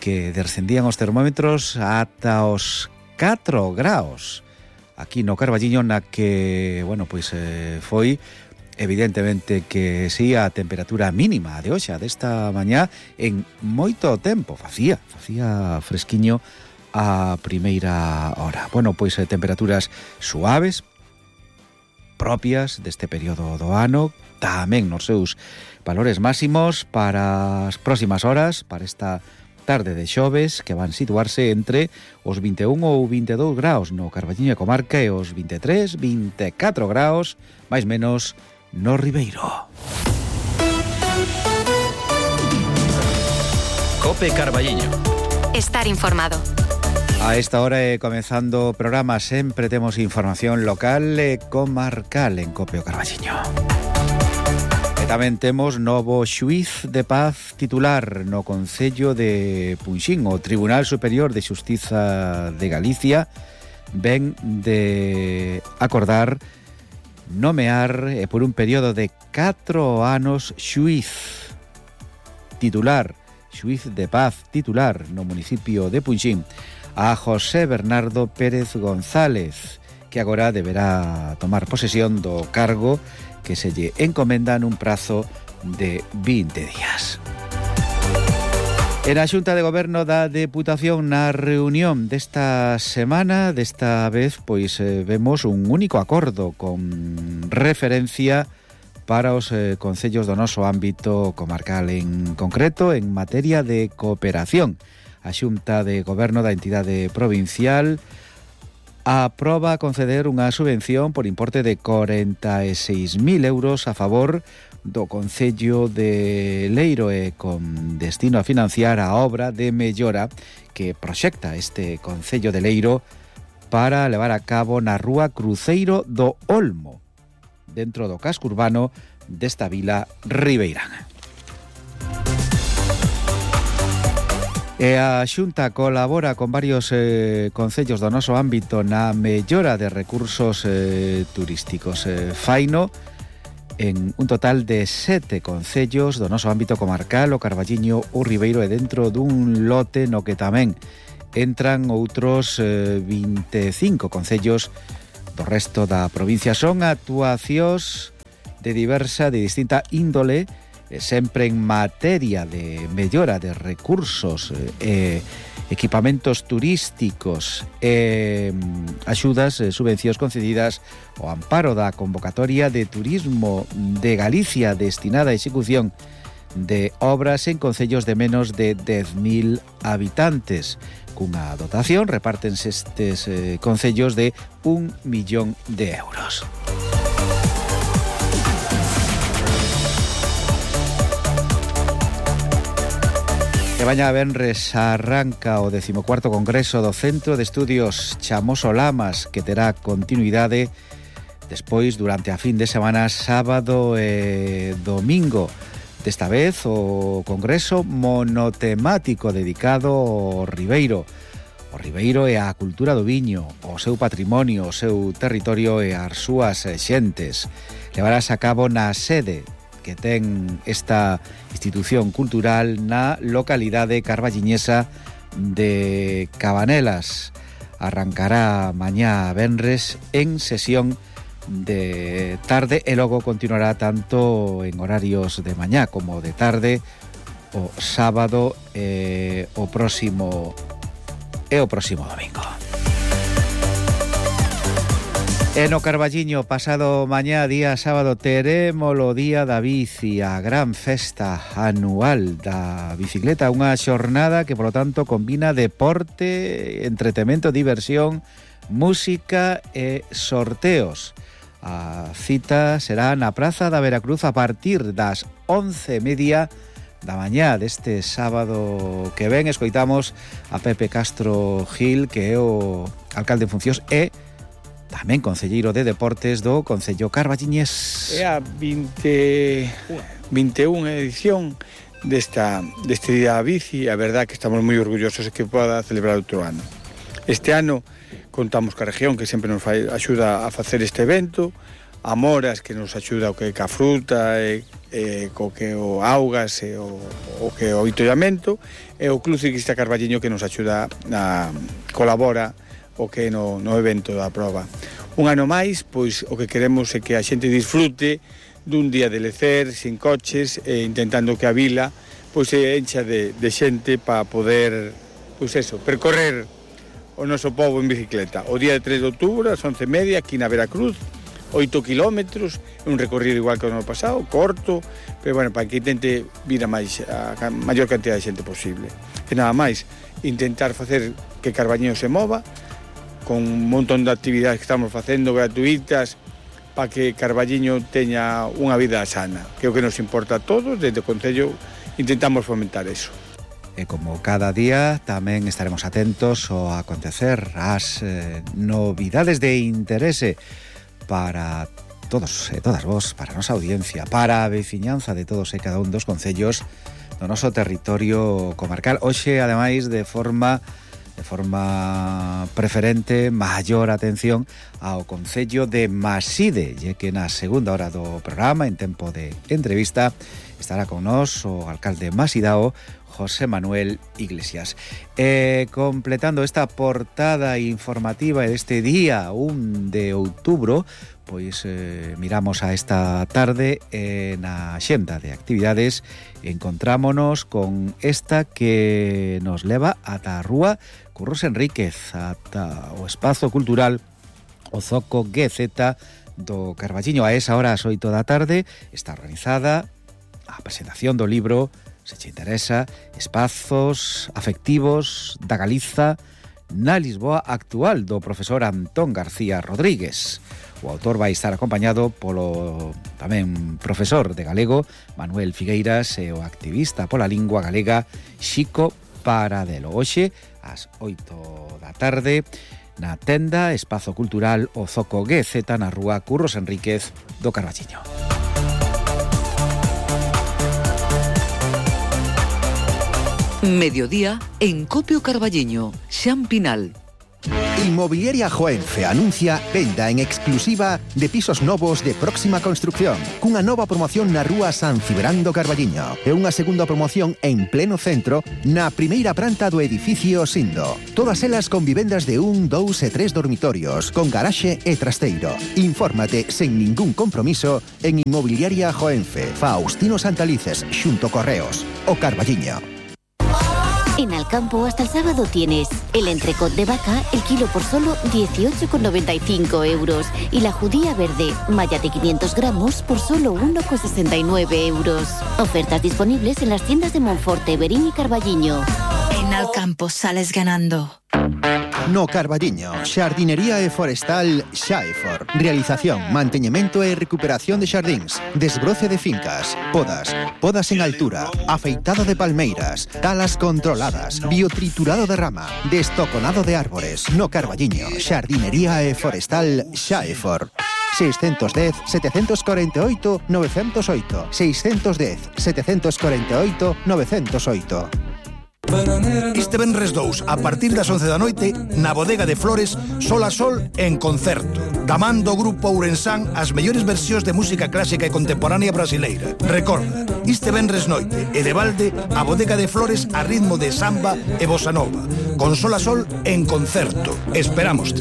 que descendían os termómetros ata os catro graus aquí no Carballiño, na que, bueno, pois eh, foi evidentemente que si a temperatura mínima de hoxe, desta mañá, en moito tempo facía, facía fresquiño a primeira hora. Bueno, pois eh, temperaturas suaves, propias deste período do ano, tamén nos seus valores máximos para as próximas horas, para esta tarde de xoves, que van situarse entre os vinte e un ou vinte e dous graus no Carballiño e comarca e os vinte e tres, vinte e catro graus, máis menos, no Ribeiro. Cope Carballiño. Estar informado. A esta hora e comezando o programa sempre temos información local e comarcal en Copio Carballiño. E tamén temos novo xuíz de paz titular no Concello de Punxín. O Tribunal Superior de Xustiza de Galicia ven de acordar nomear e por un período de catro anos xuíz titular, xuíz de paz titular no municipio de Punxín a José Bernardo Pérez González, que agora deberá tomar posesión do cargo que se lle encomenda nun prazo de vinte días. En a Xunta de Goberno da Deputación, na reunión desta semana, desta vez, pois eh, vemos un único acordo con referencia para os eh, concellos do noso ámbito comarcal, en concreto en materia de cooperación. A Xunta de Goberno da entidade provincial aproba conceder unha subvención por importe de corenta e seis mil euros a favor do Concello de Leiro e con destino a financiar a obra de mellora que proxecta este Concello de Leiro para levar a cabo na rúa Cruceiro do Olmo, dentro do casco urbano desta vila ribeirana. E a Xunta colabora con varios eh, concellos do noso ámbito na mellora de recursos eh, turísticos. Eh, faino en un total de sete concellos do noso ámbito comarcal, o Carballiño, o Ribeiro, e dentro dun lote no que tamén entran outros eh, vinte e cinco concellos do resto da provincia. Son actuacións de diversa, de distinta índole, sempre en materia de mellora de recursos, eh, equipamentos turísticos e eh, axudas, eh, subvencións concedidas ao amparo da convocatoria de turismo de Galicia destinada á execución de obras en concellos de menos de dez mil habitantes. Cunha dotación repártense estes eh, concellos de un millón de euros. E mañá venres arranca o decimocuarto Congreso do Centro de Estudios Chamoso Lamas, que terá continuidade despois durante a fin de semana, sábado e domingo. Desta vez o Congreso monotemático dedicado ao Ribeiro. O Ribeiro e a cultura do viño, o seu patrimonio, o seu territorio e as súas xentes. Levarás a cabo na sede que ten esta institución cultural na localidade carballiñesa de Cabanelas. Arrancará mañá venres en sesión de tarde e logo continuará tanto en horarios de mañá como de tarde o sábado e o próximo e o próximo domingo. E no Carballiño, pasado mañá, día sábado, teremos o Día da Bici, a gran festa anual da bicicleta, unha xornada que, polo tanto, combina deporte, entretemento, diversión, música e sorteos. A cita será na Praza da Veracruz a partir das once e media da mañá deste sábado que ven. Escoitamos a Pepe Castro Gil, que é o alcalde en funcións e tamén concelleiro de Deportes do Concello Carballiñés. É a vinte, vinte e unha edición desta, deste Día da Bici. A verdad que estamos moi orgullosos de que poda celebrar outro ano. Este ano contamos ca región, que sempre nos fai, axuda a facer este evento, a Moras, que nos axuda o que ca fruta e, e co que o augas e o, o que o itollamento, e o Club Ciclista Carballiño, que nos axuda a colabora o que no, no evento da proba. Un ano máis, pois o que queremos é que a xente disfrute dun día de lecer, sin coches, e intentando que a vila pois se encha de, de xente para poder, pois eso, percorrer o noso pobo en bicicleta. O día de tres de outubro, ás once e media, aquí na Veracruz, oito kilómetros, un recorrido igual que o ano pasado, corto, pero bueno, para que intente vir a, máis, a maior cantidad de xente posible. E nada máis, intentar facer que Carballiño se mova, con un montón de actividades que estamos facendo gratuitas para que Carballiño teña unha vida sana, que é o que nos importa a todos. Desde o Concello intentamos fomentar eso. E como cada día tamén estaremos atentos ao acontecer, as eh, novidades de interese para todos e todas vos, para a nosa audiencia, para a veciñanza de todos e cada un dos concellos do noso territorio comarcal. Hoxe, ademais, de forma de forma preferente, maior atención ao concello de Maside, e que na segunda hora do programa, en tempo de entrevista, estará con nós o alcalde masidao, José Manuel Iglesias. E completando esta portada informativa deste día un de outubro, pois eh, miramos a esta tarde e na xenda de actividades encontrámonos con esta que nos leva ata a rúa Curros Enríquez, ata o espazo cultural o Zoco G Z do Carballiño. A esa hora, ás oito da tarde, está organizada a presentación do libro, se te interesa, Espazos afectivos da Galiza na Lisboa actual, do profesor Antón García Rodríguez. O autor vai estar acompañado polo tamén profesor de galego Manuel Figueiras e o activista pola lingua galega Xico Paradelo. Hoxe, ás oito da tarde, na tenda Espazo Cultural o Zoco G Z na rúa Curros Enríquez do Carballiño. Mediodía en Copio Carballiño, Xan Pinal. Inmobiliaria Joenfe anuncia venda en exclusiva de pisos novos de próxima construcción, cunha nova promoción na rúa San Cibrán do Carballiño e unha segunda promoción en pleno centro na primeira planta do edificio Sindo. Todas elas con vivendas de un, dous e tres dormitorios, con garaxe e trasteiro. Infórmate sen ningún compromiso en Inmobiliaria Joenfe, Faustino Santalices, xunto Correos, o Carballiño. En Alcampo hasta el sábado tienes el entrecot de vaca, el kilo por solo dieciocho con noventa y cinco euros y la judía verde, malla de quinientos gramos por solo uno con sesenta y nueve euros. Ofertas disponibles en las tiendas de Monforte, Verín y Carballiño. En Alcampo sales ganando. No Carballiño, Xardinería e Forestal Xaefor. Realización, manteñemento e recuperación de xardíns, desbroce de fincas, podas, podas en altura, afeitado de palmeiras, talas controladas, biotriturado de rama, destoconado de árbores. No Carballiño, Xardinería e Forestal Xaefor. seiscentos dez, setecientos cuarenta y ocho, novecientos ocho. seiscentos dez, setecientos cuarenta y ocho, novecientos ocho. Este venres dous, a partir das once da noite, na Bodega de Flores, Sol a Sol en concerto. Da man do grupo ourensán as mellores versións de música clásica e contemporánea brasileira. Recorda, este venres noite e de balde, a Bodega de Flores a ritmo de samba e bossa nova. Con Sol a Sol en concerto. Esperámoste.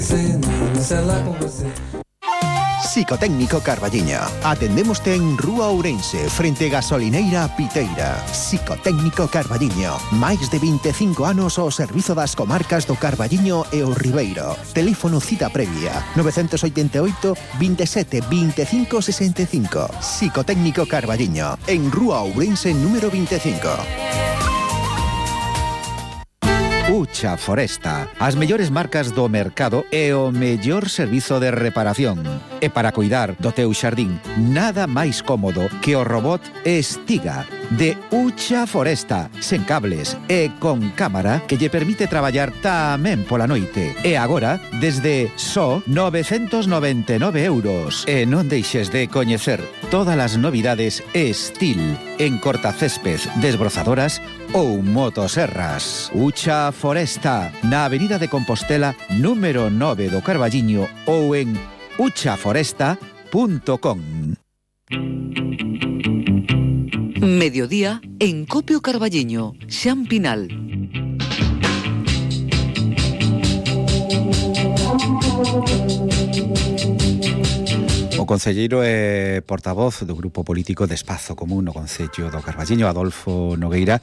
Psicotécnico Carballiño. Atendémoste en Rúa Ourense, frente Gasolineira Piteira. Psicotécnico Carballiño. Máis de vinte e cinco anos ao servizo das comarcas do Carballiño e o Ribeiro. Teléfono cita previa novecientos oitenta e oito, veintisiete, veinticinco, sesenta y cinco. Psicotécnico Carballiño. En Rúa Ourense número veinticinco. Ucha Foresta, as mellores marcas do mercado e o mellor servizo de reparación. E para cuidar do teu xardín, nada máis cómodo que o robot Estiga de Ucha Foresta, sen cables e con cámara que lle permite traballar tamén pola noite. E agora, desde só novecentos noventa e nove euros. E non deixes de coñecer todas as novidades Estil en cortacésped, desbrozadoras ou motoserras. Ucha Foresta, na Avenida de Compostela, número nove do Carballiño ou en ucha foresta punto com. Mediodía en Copio Carballiño, Xan Pinal. O concelleiro e portavoz do grupo político de Espazo Común no Concello do Carballiño, Adolfo Nogueira,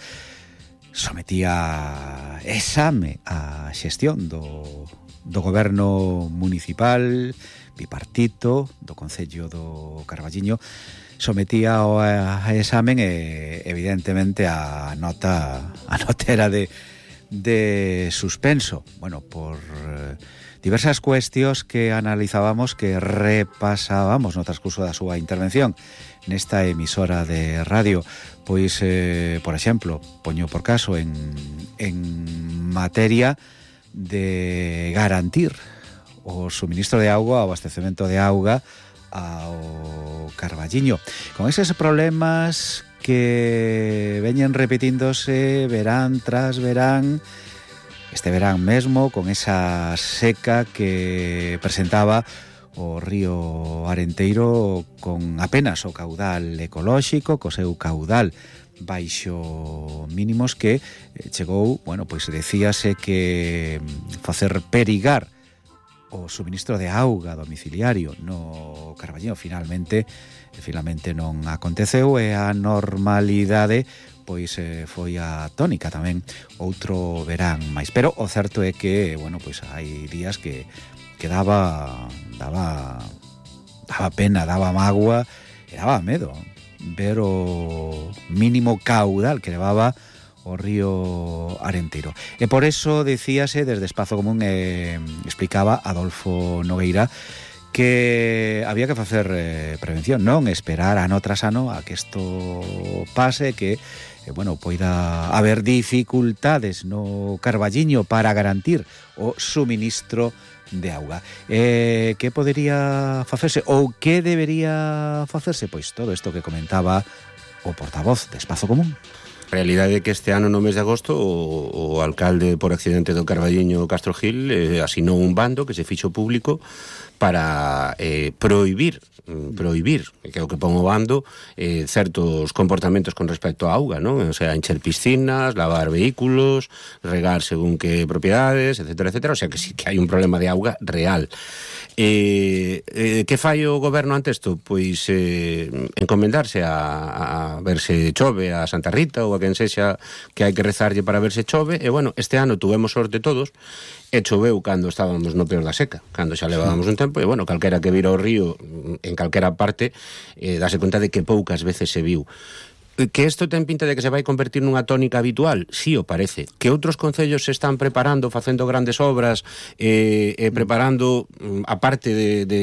sometía exame a xestión do, do goberno municipal bipartito do Concello do Carballiño. Sometía o a examen e evidentemente a nota a nota era de, de suspenso, bueno, por diversas cuestións que analizábamos, que repasábamos no transcurso da súa intervención nesta emisora de radio. Pois, eh, por exemplo, poño por caso en, en materia de garantir o suministro de auga, o abastecemento de auga ao Carballiño, con eses problemas que veñen repetíndose verán tras verán, este verán mesmo, con esa seca que presentaba o río Arenteiro, con apenas o caudal ecolóxico, co seu caudal baixo mínimos, que chegou, bueno, pois decíase que facer perigar o suministro de auga domiciliario no Carballiño. Finalmente, finalmente non aconteceu, e a normalidade pois eh, foi a tónica tamén outro verán máis. Pero o certo é que, bueno, pois hai días que que daba daba daba pena, daba mágoa e daba medo ver o mínimo caudal que levaba o río Arenteiro. E por eso decíase desde Espazo Común, eh, explicaba Adolfo Nogueira, que había que facer eh, prevención, non esperar ano tras ano a que isto pase, que eh, bueno, poida haber dificultades no Carballiño para garantir o suministro de auga. Eh, que podería facerse ou que debería facerse? Pois todo isto que comentaba o portavoz de Espazo Común. A realidade é que este ano no mes de agosto o, o alcalde por accidente do Carballiño, Castro Gil, eh, asinou un bando que se fixo público para eh, prohibir prohibir, que é o que pon o bando, eh, certos comportamentos con respecto á auga, non? O sea, encher piscinas, lavar vehículos, regar según que propiedades, etcétera, etcétera. O sea, que sí que hai un problema de auga real. Eh, eh, que fai o goberno ante isto? Pois eh, encomendarse a, a ver se chove a Santa Rita ou a quen sexa que hai que rezarlle para ver se chove. E, bueno, este ano tuvemos sorte todos e choveu cando estábamos no peor da seca, cando xa levábamos un tempo, e, bueno, calquera que vira o río en calquera parte, eh, dase conta de que poucas veces se viu. Que isto ten pinta de que se vai convertir nunha tónica habitual? Sí, o parece. Que outros concellos se están preparando, facendo grandes obras, eh, eh, preparando, a parte de, de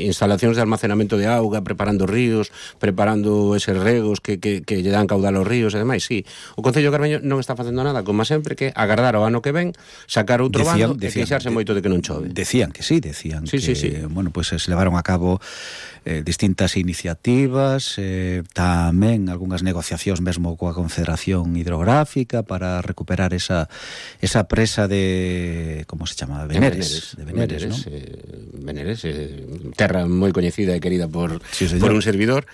instalacións de almacenamento de auga, preparando ríos, preparando eses regos que, que, que lle dan caudal aos ríos e demais, sí. O Concello de Carballiño non está facendo nada, como sempre, que agardar o ano que ven, sacar outro decían, bando decían, e queixarse de, moito de que non chove. Decían que sí, decían sí, que, sí, sí. bueno, pues se levaron a cabo eh, distintas iniciativas, eh, tamén algunhas negociacións mesmo coa Confederación Hidrográfica para recuperar esa esa presa de, como se chama? Veneres, de Veneres, Veneres, ¿no? eh, Veneres, eh, terra moi coñecida e querida por, sí, por un servidor.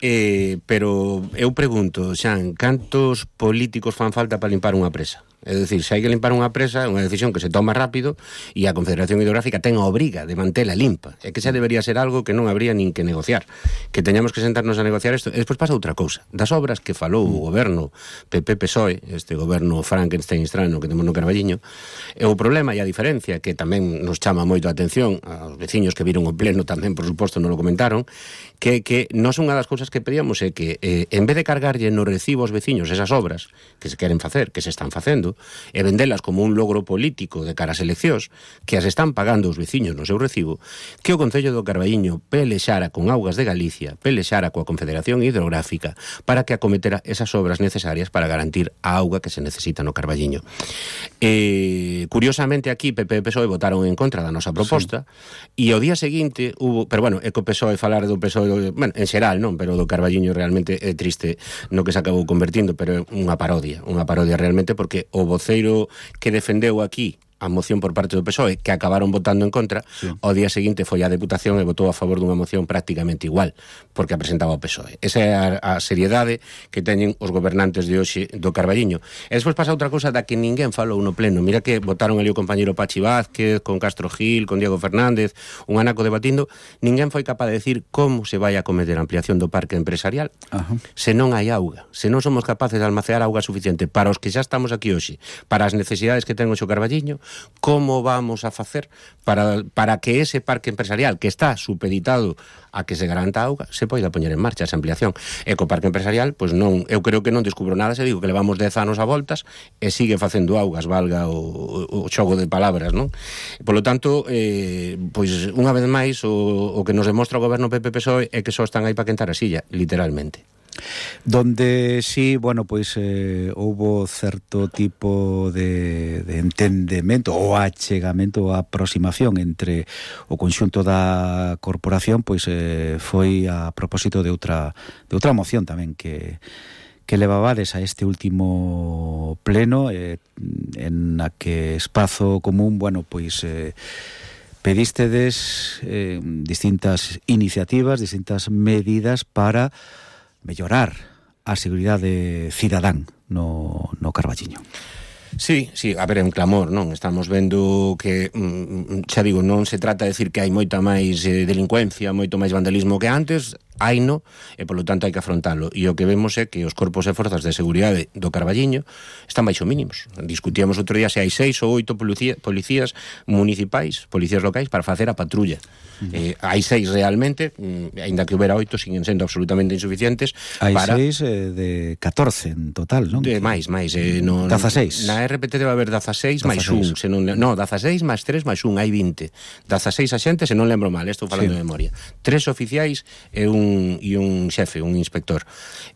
Eh, pero eu pregunto, Xan, cantos políticos fan falta para limpar unha presa? É dicir, se hai que limpar unha presa, é unha decisión que se toma rápido e a Confederación Hidrográfica ten a obriga de mantela limpa. É que xa debería ser algo que non habría nin que negociar. Que teñamos que sentarnos a negociar isto. E despois pasa outra cousa. Das obras que falou o goberno P P P S O E, este goberno Frankenstein estrano que temos no Carballiño, e o problema e a diferencia que tamén nos chama moito a atención, aos veciños que viron o pleno tamén, por suposto, non lo comentaron, que, que non son unha das cousas que pedíamos é que, eh, en vez de cargarlle no recibo aos veciños esas obras que se queren facer, que se están facendo, e vendelas como un logro político de cara ás eleccións, que as están pagando os veciños no seu recibo, que o Concello do Carballiño pelexara con Augas de Galicia, pelexara coa Confederación Hidrográfica para que acometera esas obras necesarias para garantir a auga que se necesita no Carballiño. Eh, curiosamente aquí P P P S O E votaron en contra da nosa proposta, sí. E ao día seguinte hubo, pero bueno, é que o P S O E falar do P S O E, bueno, en xeral, non, pero do Carballiño realmente é triste no que se acabou convertindo, pero é unha parodia, unha parodia realmente, porque o voceiro que defendeu aquí a moción por parte do P S O E, que acabaron votando en contra, sí. Ao día seguinte foi a Deputación e votou a favor dunha moción prácticamente igual, porque a presentaba o P S O E. Esa é a, a seriedade que teñen os gobernantes de hoxe do Carballiño. E despois pasa outra cousa da que ninguén falou no pleno. Mira que votaron ali o compañeiro Pachi Vázquez, con Castro Gil, con Diego Fernández, un anaco debatindo, ninguén foi capaz de decir como se vai a cometer a ampliación do parque empresarial. Ajá. Se non hai auga, se non somos capaces de almacear auga suficiente para os que xa estamos aquí hoxe, para as necesidades que ten o Carballiño, como vamos a facer para, para que ese parque empresarial que está supeditado a que se garanta a auga se poida poñer en marcha esa ampliación. E co parque empresarial, pois non, eu creo que non descubro nada se digo que levamos dez anos a voltas e sigue facendo augas, valga o, o xogo de palabras, non? Por lo tanto, eh, pois unha vez máis o, o que nos demostra o goberno P P P S O E é que só están aí para quentar a silla, literalmente. Donde sí, bueno, pois eh, houbo certo tipo de, de entendemento ou achegamento ou aproximación entre o conxunto da corporación, pois eh, foi a propósito de outra de outra moción tamén que que levabades a este último pleno, eh, en a que Espazo Común, bueno, pois eh, pedístedes eh, distintas iniciativas, distintas medidas para mellorar a seguridade cidadán no, no Carballiño. Sí, sí, a ver, é un clamor, non? Estamos vendo que, xa digo, non se trata de decir que hai moita máis eh, delincuencia, moito máis vandalismo que antes, haino, e polo tanto hai que afrontalo. E o que vemos é que os corpos e forzas de seguridade do Carballiño están baixo mínimos. Discutíamos outro día se hai seis ou oito policía, policías municipais, policías locais para facer a patrulla. Uh-huh. eh, hai seis realmente, mm, ainda que houbera oito, siguen sendo absolutamente insuficientes. Hai para... seis eh, de catorce en total, non? De máis, máis. Eh, no, dezaseis. Na R P T debe haber dezaseis máis un. Se non, no, dezaseis máis tres máis un, hai vinte. dezaseis axentes, se non lembro mal, estou falando sí. de memoria. Tres oficiais e un, e un xefe, un inspector.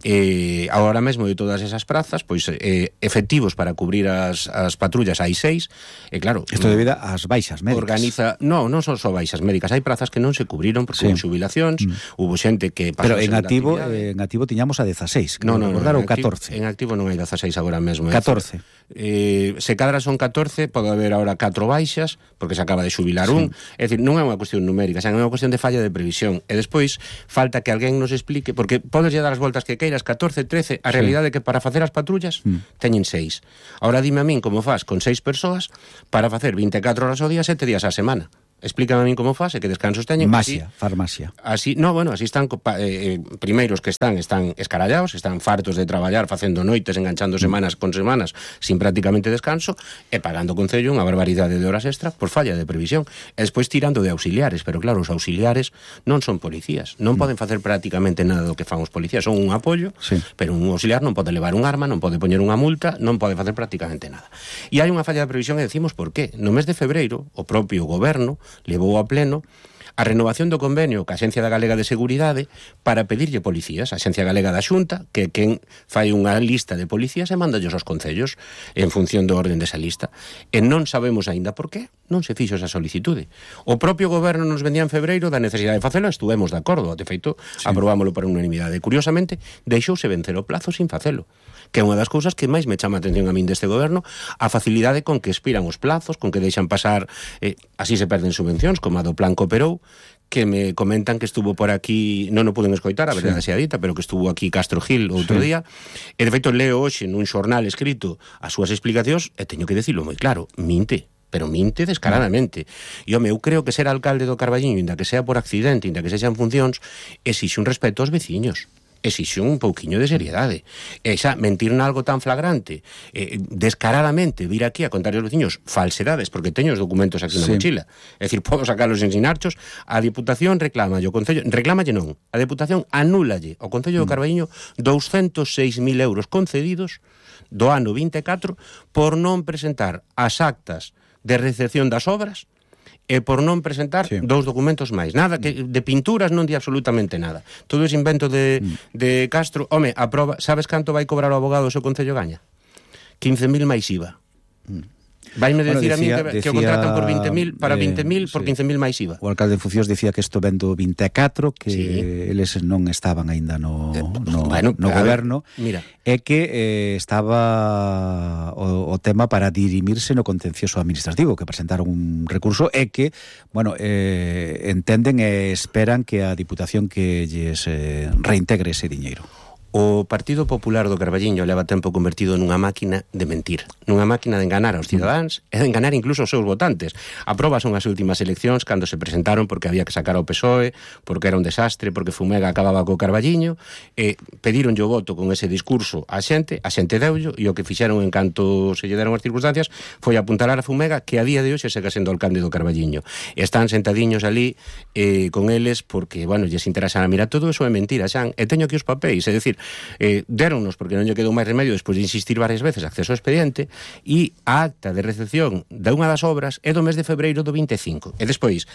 Eh, agora mesmo de todas esas prazas, pois eh, efectivos para cubrir as, as patrullas hai seis, e claro... Isto debido ás baixas médicas. Organiza... No, non son só baixas médicas, hai prazas que non se cubriron porque sí. hubo xubilacións, mm. hubo xente que... Pero en activo, eh, en activo tiñamos a dezaseis, no, no, no, recordar, no, ou catorce. En activo non hai dezaseis agora mesmo. catorce. Eh, se cadra son catorce, pode haber agora catro baixas, porque se acaba de xubilar sí. un. É dicir, non é unha cuestión numérica, xa é unha cuestión de falla de previsión. E despois, falta que alguén nos explique, porque podes lle dar as voltas que queiras, catorce, trece, a sí. realidade é que para facer as patrullas mm. teñen seis. Ahora dime a min como faz con seis persoas para facer vinte e catro horas ao día, sete días á semana. Explícame a min como faz e que descansos teñen. Masia, así, farmacia. Así, no, bueno, así están eh, primeiros que están están escarallados, están fartos de traballar facendo noites, enganchando semanas con semanas sin prácticamente descanso e pagando o Concello unha barbaridade de horas extra por falla de previsión. E despois tirando de auxiliares, pero claro, os auxiliares non son policías, non mm. poden facer prácticamente nada do que fan os policías, son un apoio, sí. pero un auxiliar non pode levar un arma, non pode poñer unha multa, non pode facer prácticamente nada. E hai unha falla de previsión e decimos por qué. No mes de febreiro, o propio goberno levou a pleno a renovación do convenio ca Axencia da Galega de Seguridade para pedirlle policías. A Axencia Galega da Xunta, que quen fai unha lista de policías e mandallos aos concellos en función do orden desa lista. E non sabemos aínda por qué non se fixo esa solicitude. O propio goberno nos vendía en febreiro da necesidade de facelo, estuvemos de acordo, de feito, sí. aprobámoslo por unanimidade. Curiosamente, deixouse vencer o plazo sin facelo, que é unha das cousas que máis me chama a atención a min deste goberno, a facilidade con que expiran os plazos, con que deixan pasar, eh, así se perden subvencións, como a do Plan Cooperou, que me comentan que estuvo por aquí, non o puden escoitar, a verdade sí. sea dita, pero que estuvo aquí Castro Gil outro sí. día, e de feito leo hoxe nun xornal escrito as súas explicacións, e teño que decirlo moi claro, minte, pero minte descaradamente. E, home, eu creo que ser alcalde do Carballiño, inda que sea por accidente, inda que sexan funcións, exixe un respeto aos veciños. Exixe un pouquiño de seriedade. E xa, mentir nalgo tan flagrante, eh, descaradamente vir aquí a contar aos veciños falsedades, porque teño os documentos aquí na sí. mochila, é dicir, podo sacarlos en sinarchos, a Diputación reclama, o Concello, reclámalle non, a Diputación anúlalle ao Concello do Carballiño douscentos seis mil euros concedidos do ano vinte e catro por non presentar as actas de recepción das obras e por non presentar sí. dous documentos máis. Nada, que de pinturas non di absolutamente nada. Todo ese invento de, mm. de Castro. Home, a proba, sabes canto vai cobrar o abogado se o Concello gaña? quince mil máis I V A. Mm. Vaime bueno, decir decía, a mí que, decía, que o contratan por vinte mil, para eh, vinte mil, por sí. quince mil máis I V A. O alcalde de Fucións dicía que isto vendo vinte e catro, que sí. eles non estaban aínda no, no, bueno, no goberno, ver, mira. e que eh, estaba o, o tema para dirimirse no contencioso administrativo, que presentaron un recurso e que, bueno, eh, entenden e esperan que a Diputación que lles eh, reintegre ese diñeiro. O Partido Popular do Carballiño leva tempo convertido nunha máquina de mentir, nunha máquina de enganar aos cidadáns e de enganar incluso os seus votantes. A proba son as últimas eleccións cando se presentaron porque había que sacar ao P S O E, porque era un desastre, porque Fumega acababa co Carballiño, e pediron o voto con ese discurso a xente, a xente deullo, e o que fixeron en canto se lle deron as circunstancias foi apuntalar a Fumega, que a día de hoxe segue sendo alcalde do Carballiño. E están sentadiños ali eh, con eles porque, bueno, lles interesa. Mira, todo eso é mentira, xan, e teño aquí os papéis, é dicir, Eh, deronnos porque non lle quedou máis remedio despois de insistir varias veces acceso ao expediente, e a acta de recepción de unha das obras é do mes de febreiro do vinte e cinco. E despois,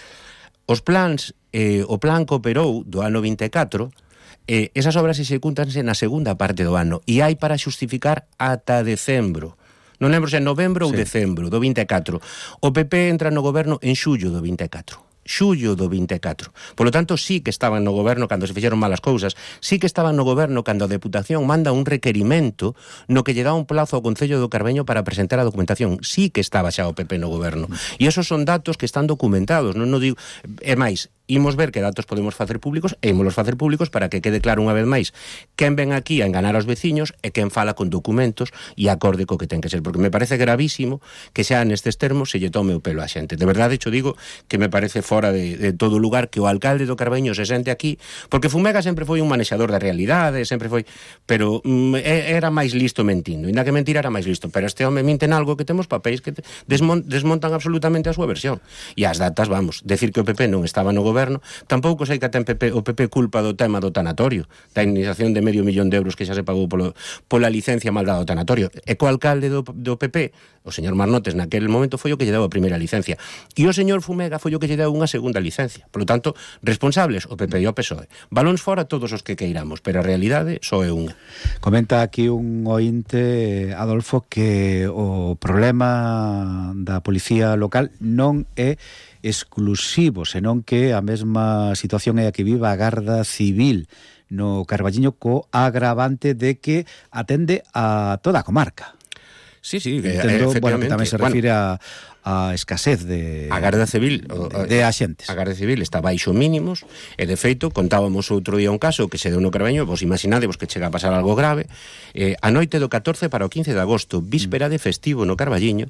os plans, eh, o plan Cooperou do ano vinte e catro, eh, esas obras execútanse na segunda parte do ano e hai para xustificar ata decembro. Non lembro se é novembro sí. ou decembro do vinte e catro. O P P entra no goberno en xullo do vinte e catro. Xullo do vinte e catro. Por lo tanto, sí que estaban no goberno cando se fixeron malas cousas, sí que estaban no goberno cando a Deputación manda un requerimento no que lle dá un plazo ao Concello do Carballiño para presentar a documentación. Sí que estaba xa o P P no goberno. E esos son datos que están documentados, non no digo, é máis, imos ver que datos podemos facer públicos e imos facer públicos para que quede claro unha vez máis quen ven aquí a enganar aos veciños e quen fala con documentos e acorde co que ten que ser, porque me parece gravísimo que xa nestes termos se lle tome o pelo á xente. De verdade, xo digo que me parece fora de, de todo lugar que o alcalde do Carballiño se sente aquí, porque Fumega sempre foi un manexador da realidade, sempre foi, pero mm, era máis listo mentindo, inda que mentir era máis listo, pero este home minten algo que temos papéis que desmon, desmontan absolutamente a súa versión. E as datas, vamos, decir que o P P non estaba no goberno, tampouco sei que ten P P, o P P culpa do tema do tanatorio, da indemnización de medio millón de euros que xa se pagou polo, pola licencia mal dada do tanatorio. E co alcalde do, do P P, o señor Marnotes, naquele momento foi o que lle deu a primeira licencia. E o señor Fumega foi o que lle deu unha segunda licencia. Por lo tanto, responsables o P P e o P S O E. Balóns fora todos os que queiramos, pero a realidade só é unha. Comenta aquí un ointe, Adolfo, que o problema da policía local non é exclusivo, senón que a mesma situación é a que viva a Garda Civil no Carballiño, co agravante de que atende a toda a comarca. Sí, sí, Entendo, efectivamente. Bueno, que tamén se refire bueno, a, a escasez de a Garda Civil de, de axentes. A Garda Civil está baixo mínimos e, de feito, contábamos outro día un caso que se deu no Carballiño, vos imaginadevos que chega a pasar algo grave, eh, a noite do catorce para o quince de agosto, víspera de festivo no Carballiño,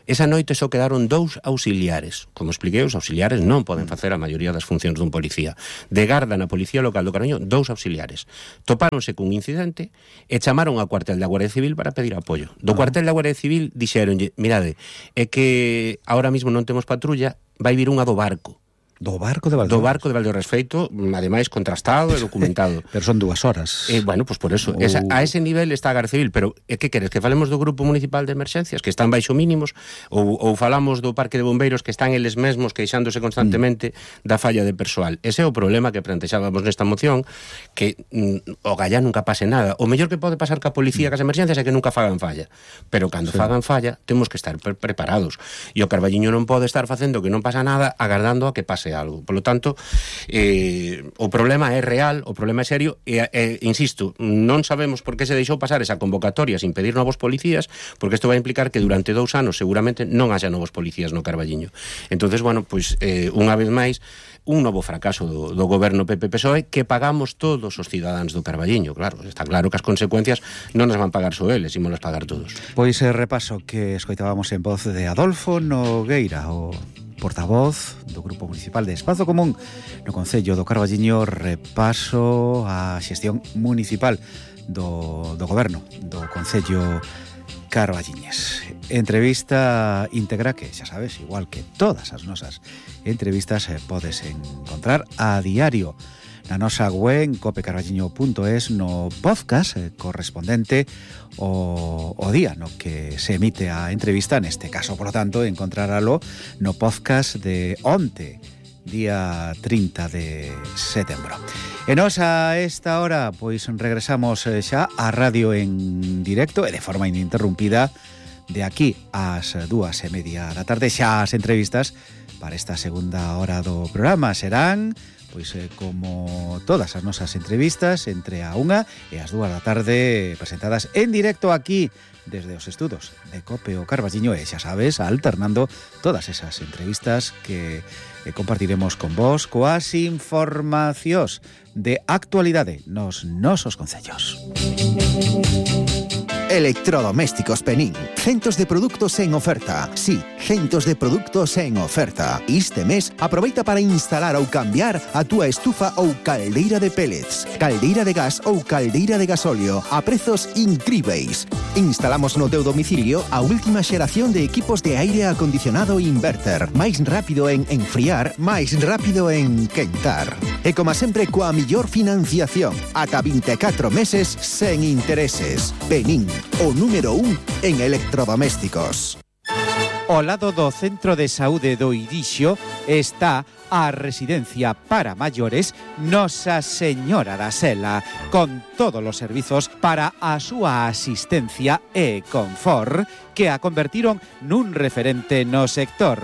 esa noite só quedaron dous auxiliares. Como expliquei, os auxiliares non poden facer a maioría das funcións dun policía. De garda na Policía Local do Carballiño, dous auxiliares. Topáronse cun incidente e chamaron ao cuartel da Guardia Civil para pedir apoio. Do cuartel da Guardia Civil dixeronlle, mirade, é que ahora mismo non temos patrulla, vai vir unha do barco. Do barco de Valdeorras. Do barco de Valdeorras, feito, ademais, contrastado e documentado. Pero son dúas horas. Eh, bueno, pues por eso. O... Esa, a ese nivel está a Garda Civil, pero é que queres? Que falemos do Grupo Municipal de Emerxencias, que están baixo mínimos, ou, ou falamos do Parque de Bombeiros, que están eles mesmos queixándose constantemente mm. da falla de persoal. Ese é o problema que plantexábamos nesta moción, que mm, o gallá nunca pase nada. O mellor que pode pasar ca policía, mm. cas emerxencias, é que nunca fagan falla. Pero cando sí. fagan falla, temos que estar pre preparados. E o Carballiño non pode estar facendo que non pasa nada, agardando a que pase algo. Por lo tanto, eh, o problema é real, o problema é serio e, e, insisto, non sabemos por que se deixou pasar esa convocatoria sin pedir novos policías, porque isto vai implicar que durante dous anos seguramente non haxa novos policías no Carballiño. Entonces, bueno, pois, eh, unha vez máis, un novo fracaso do, do goberno P P P S O E que pagamos todos os cidadáns do Carballiño. Claro, está claro que as consecuencias non as van pagar só eles, ímolas pagar todos. Pois eh, repaso que escoitábamos en voz de Adolfo Nogueira, o portavoz do Grupo Municipal de Espazo Común no Concello do Carballiño, repaso a xestión municipal do, do goberno do Concello Carballiñes. Entrevista íntegra que, xa sabes, igual que todas as nosas entrevistas, eh, podes encontrar a diario na nosa web copecarballiño punto es, no podcast eh, correspondente o, o día no que se emite a entrevista, neste caso, por lo tanto, encontraralo no podcast de onte, día trinta de setembro. E nos a esta hora, pois regresamos xa á radio en directo e de forma ininterrumpida de aquí ás dúas e media da tarde. Xa as entrevistas para esta segunda hora do programa serán, pois eh, como todas as nosas entrevistas, entre a unha e as dúas da tarde, presentadas en directo aquí desde os estudos de Cope o Carballiño, e xa sabes, alternando todas esas entrevistas que eh, compartiremos con vos coas informacións de actualidade nos nosos concellos. Electrodomésticos Penín. Centos de produtos en oferta. Sí, centos de produtos en oferta. Este mes, aproveita para instalar ou cambiar a túa estufa ou caldeira de pellets, caldeira de gas ou caldeira de gasóleo a prezos incríveis. Instalamos no teu domicilio a última xeración de equipos de aire acondicionado inverter. Máis rápido en enfriar, máis rápido en quentar. E como sempre, coa millor financiación, ata vinte e catro meses sen intereses. Penín, o número un en electrodomésticos. Ao lado do Centro de Saúde do Irixo está a residencia para maiores Nosa Señora da Sela, con todos os servizos para a súa asistencia e confort que a convertiron nun referente no sector.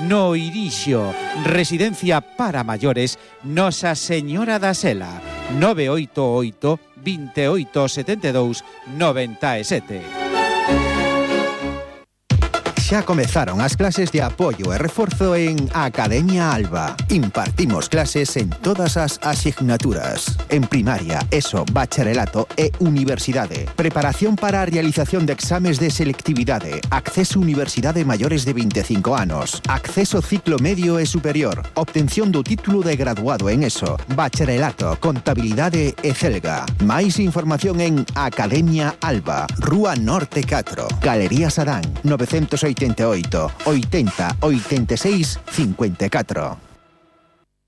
No Irixo, residencia para maiores Nosa Señora da Sela, nove oito oito, vinte e oito, setenta e dous, noventa e sete. Xa comezaron as clases de apoio e reforzo en Academia Alba. Impartimos clases en todas as asignaturas. En primaria, ESO, bacharelato e universidade. Preparación para a realización de exames de selectividade. Acceso a universidade maiores de veinticinco anos. Acceso ciclo medio e superior. Obtención do título de graduado en ESO, bacharelato, contabilidade e celga. Máis información en Academia Alba, Rúa Norte catro, Galería Sadán, novecientos ochenta y ocho, ochenta, ochenta y seis, cincuenta y cuatro.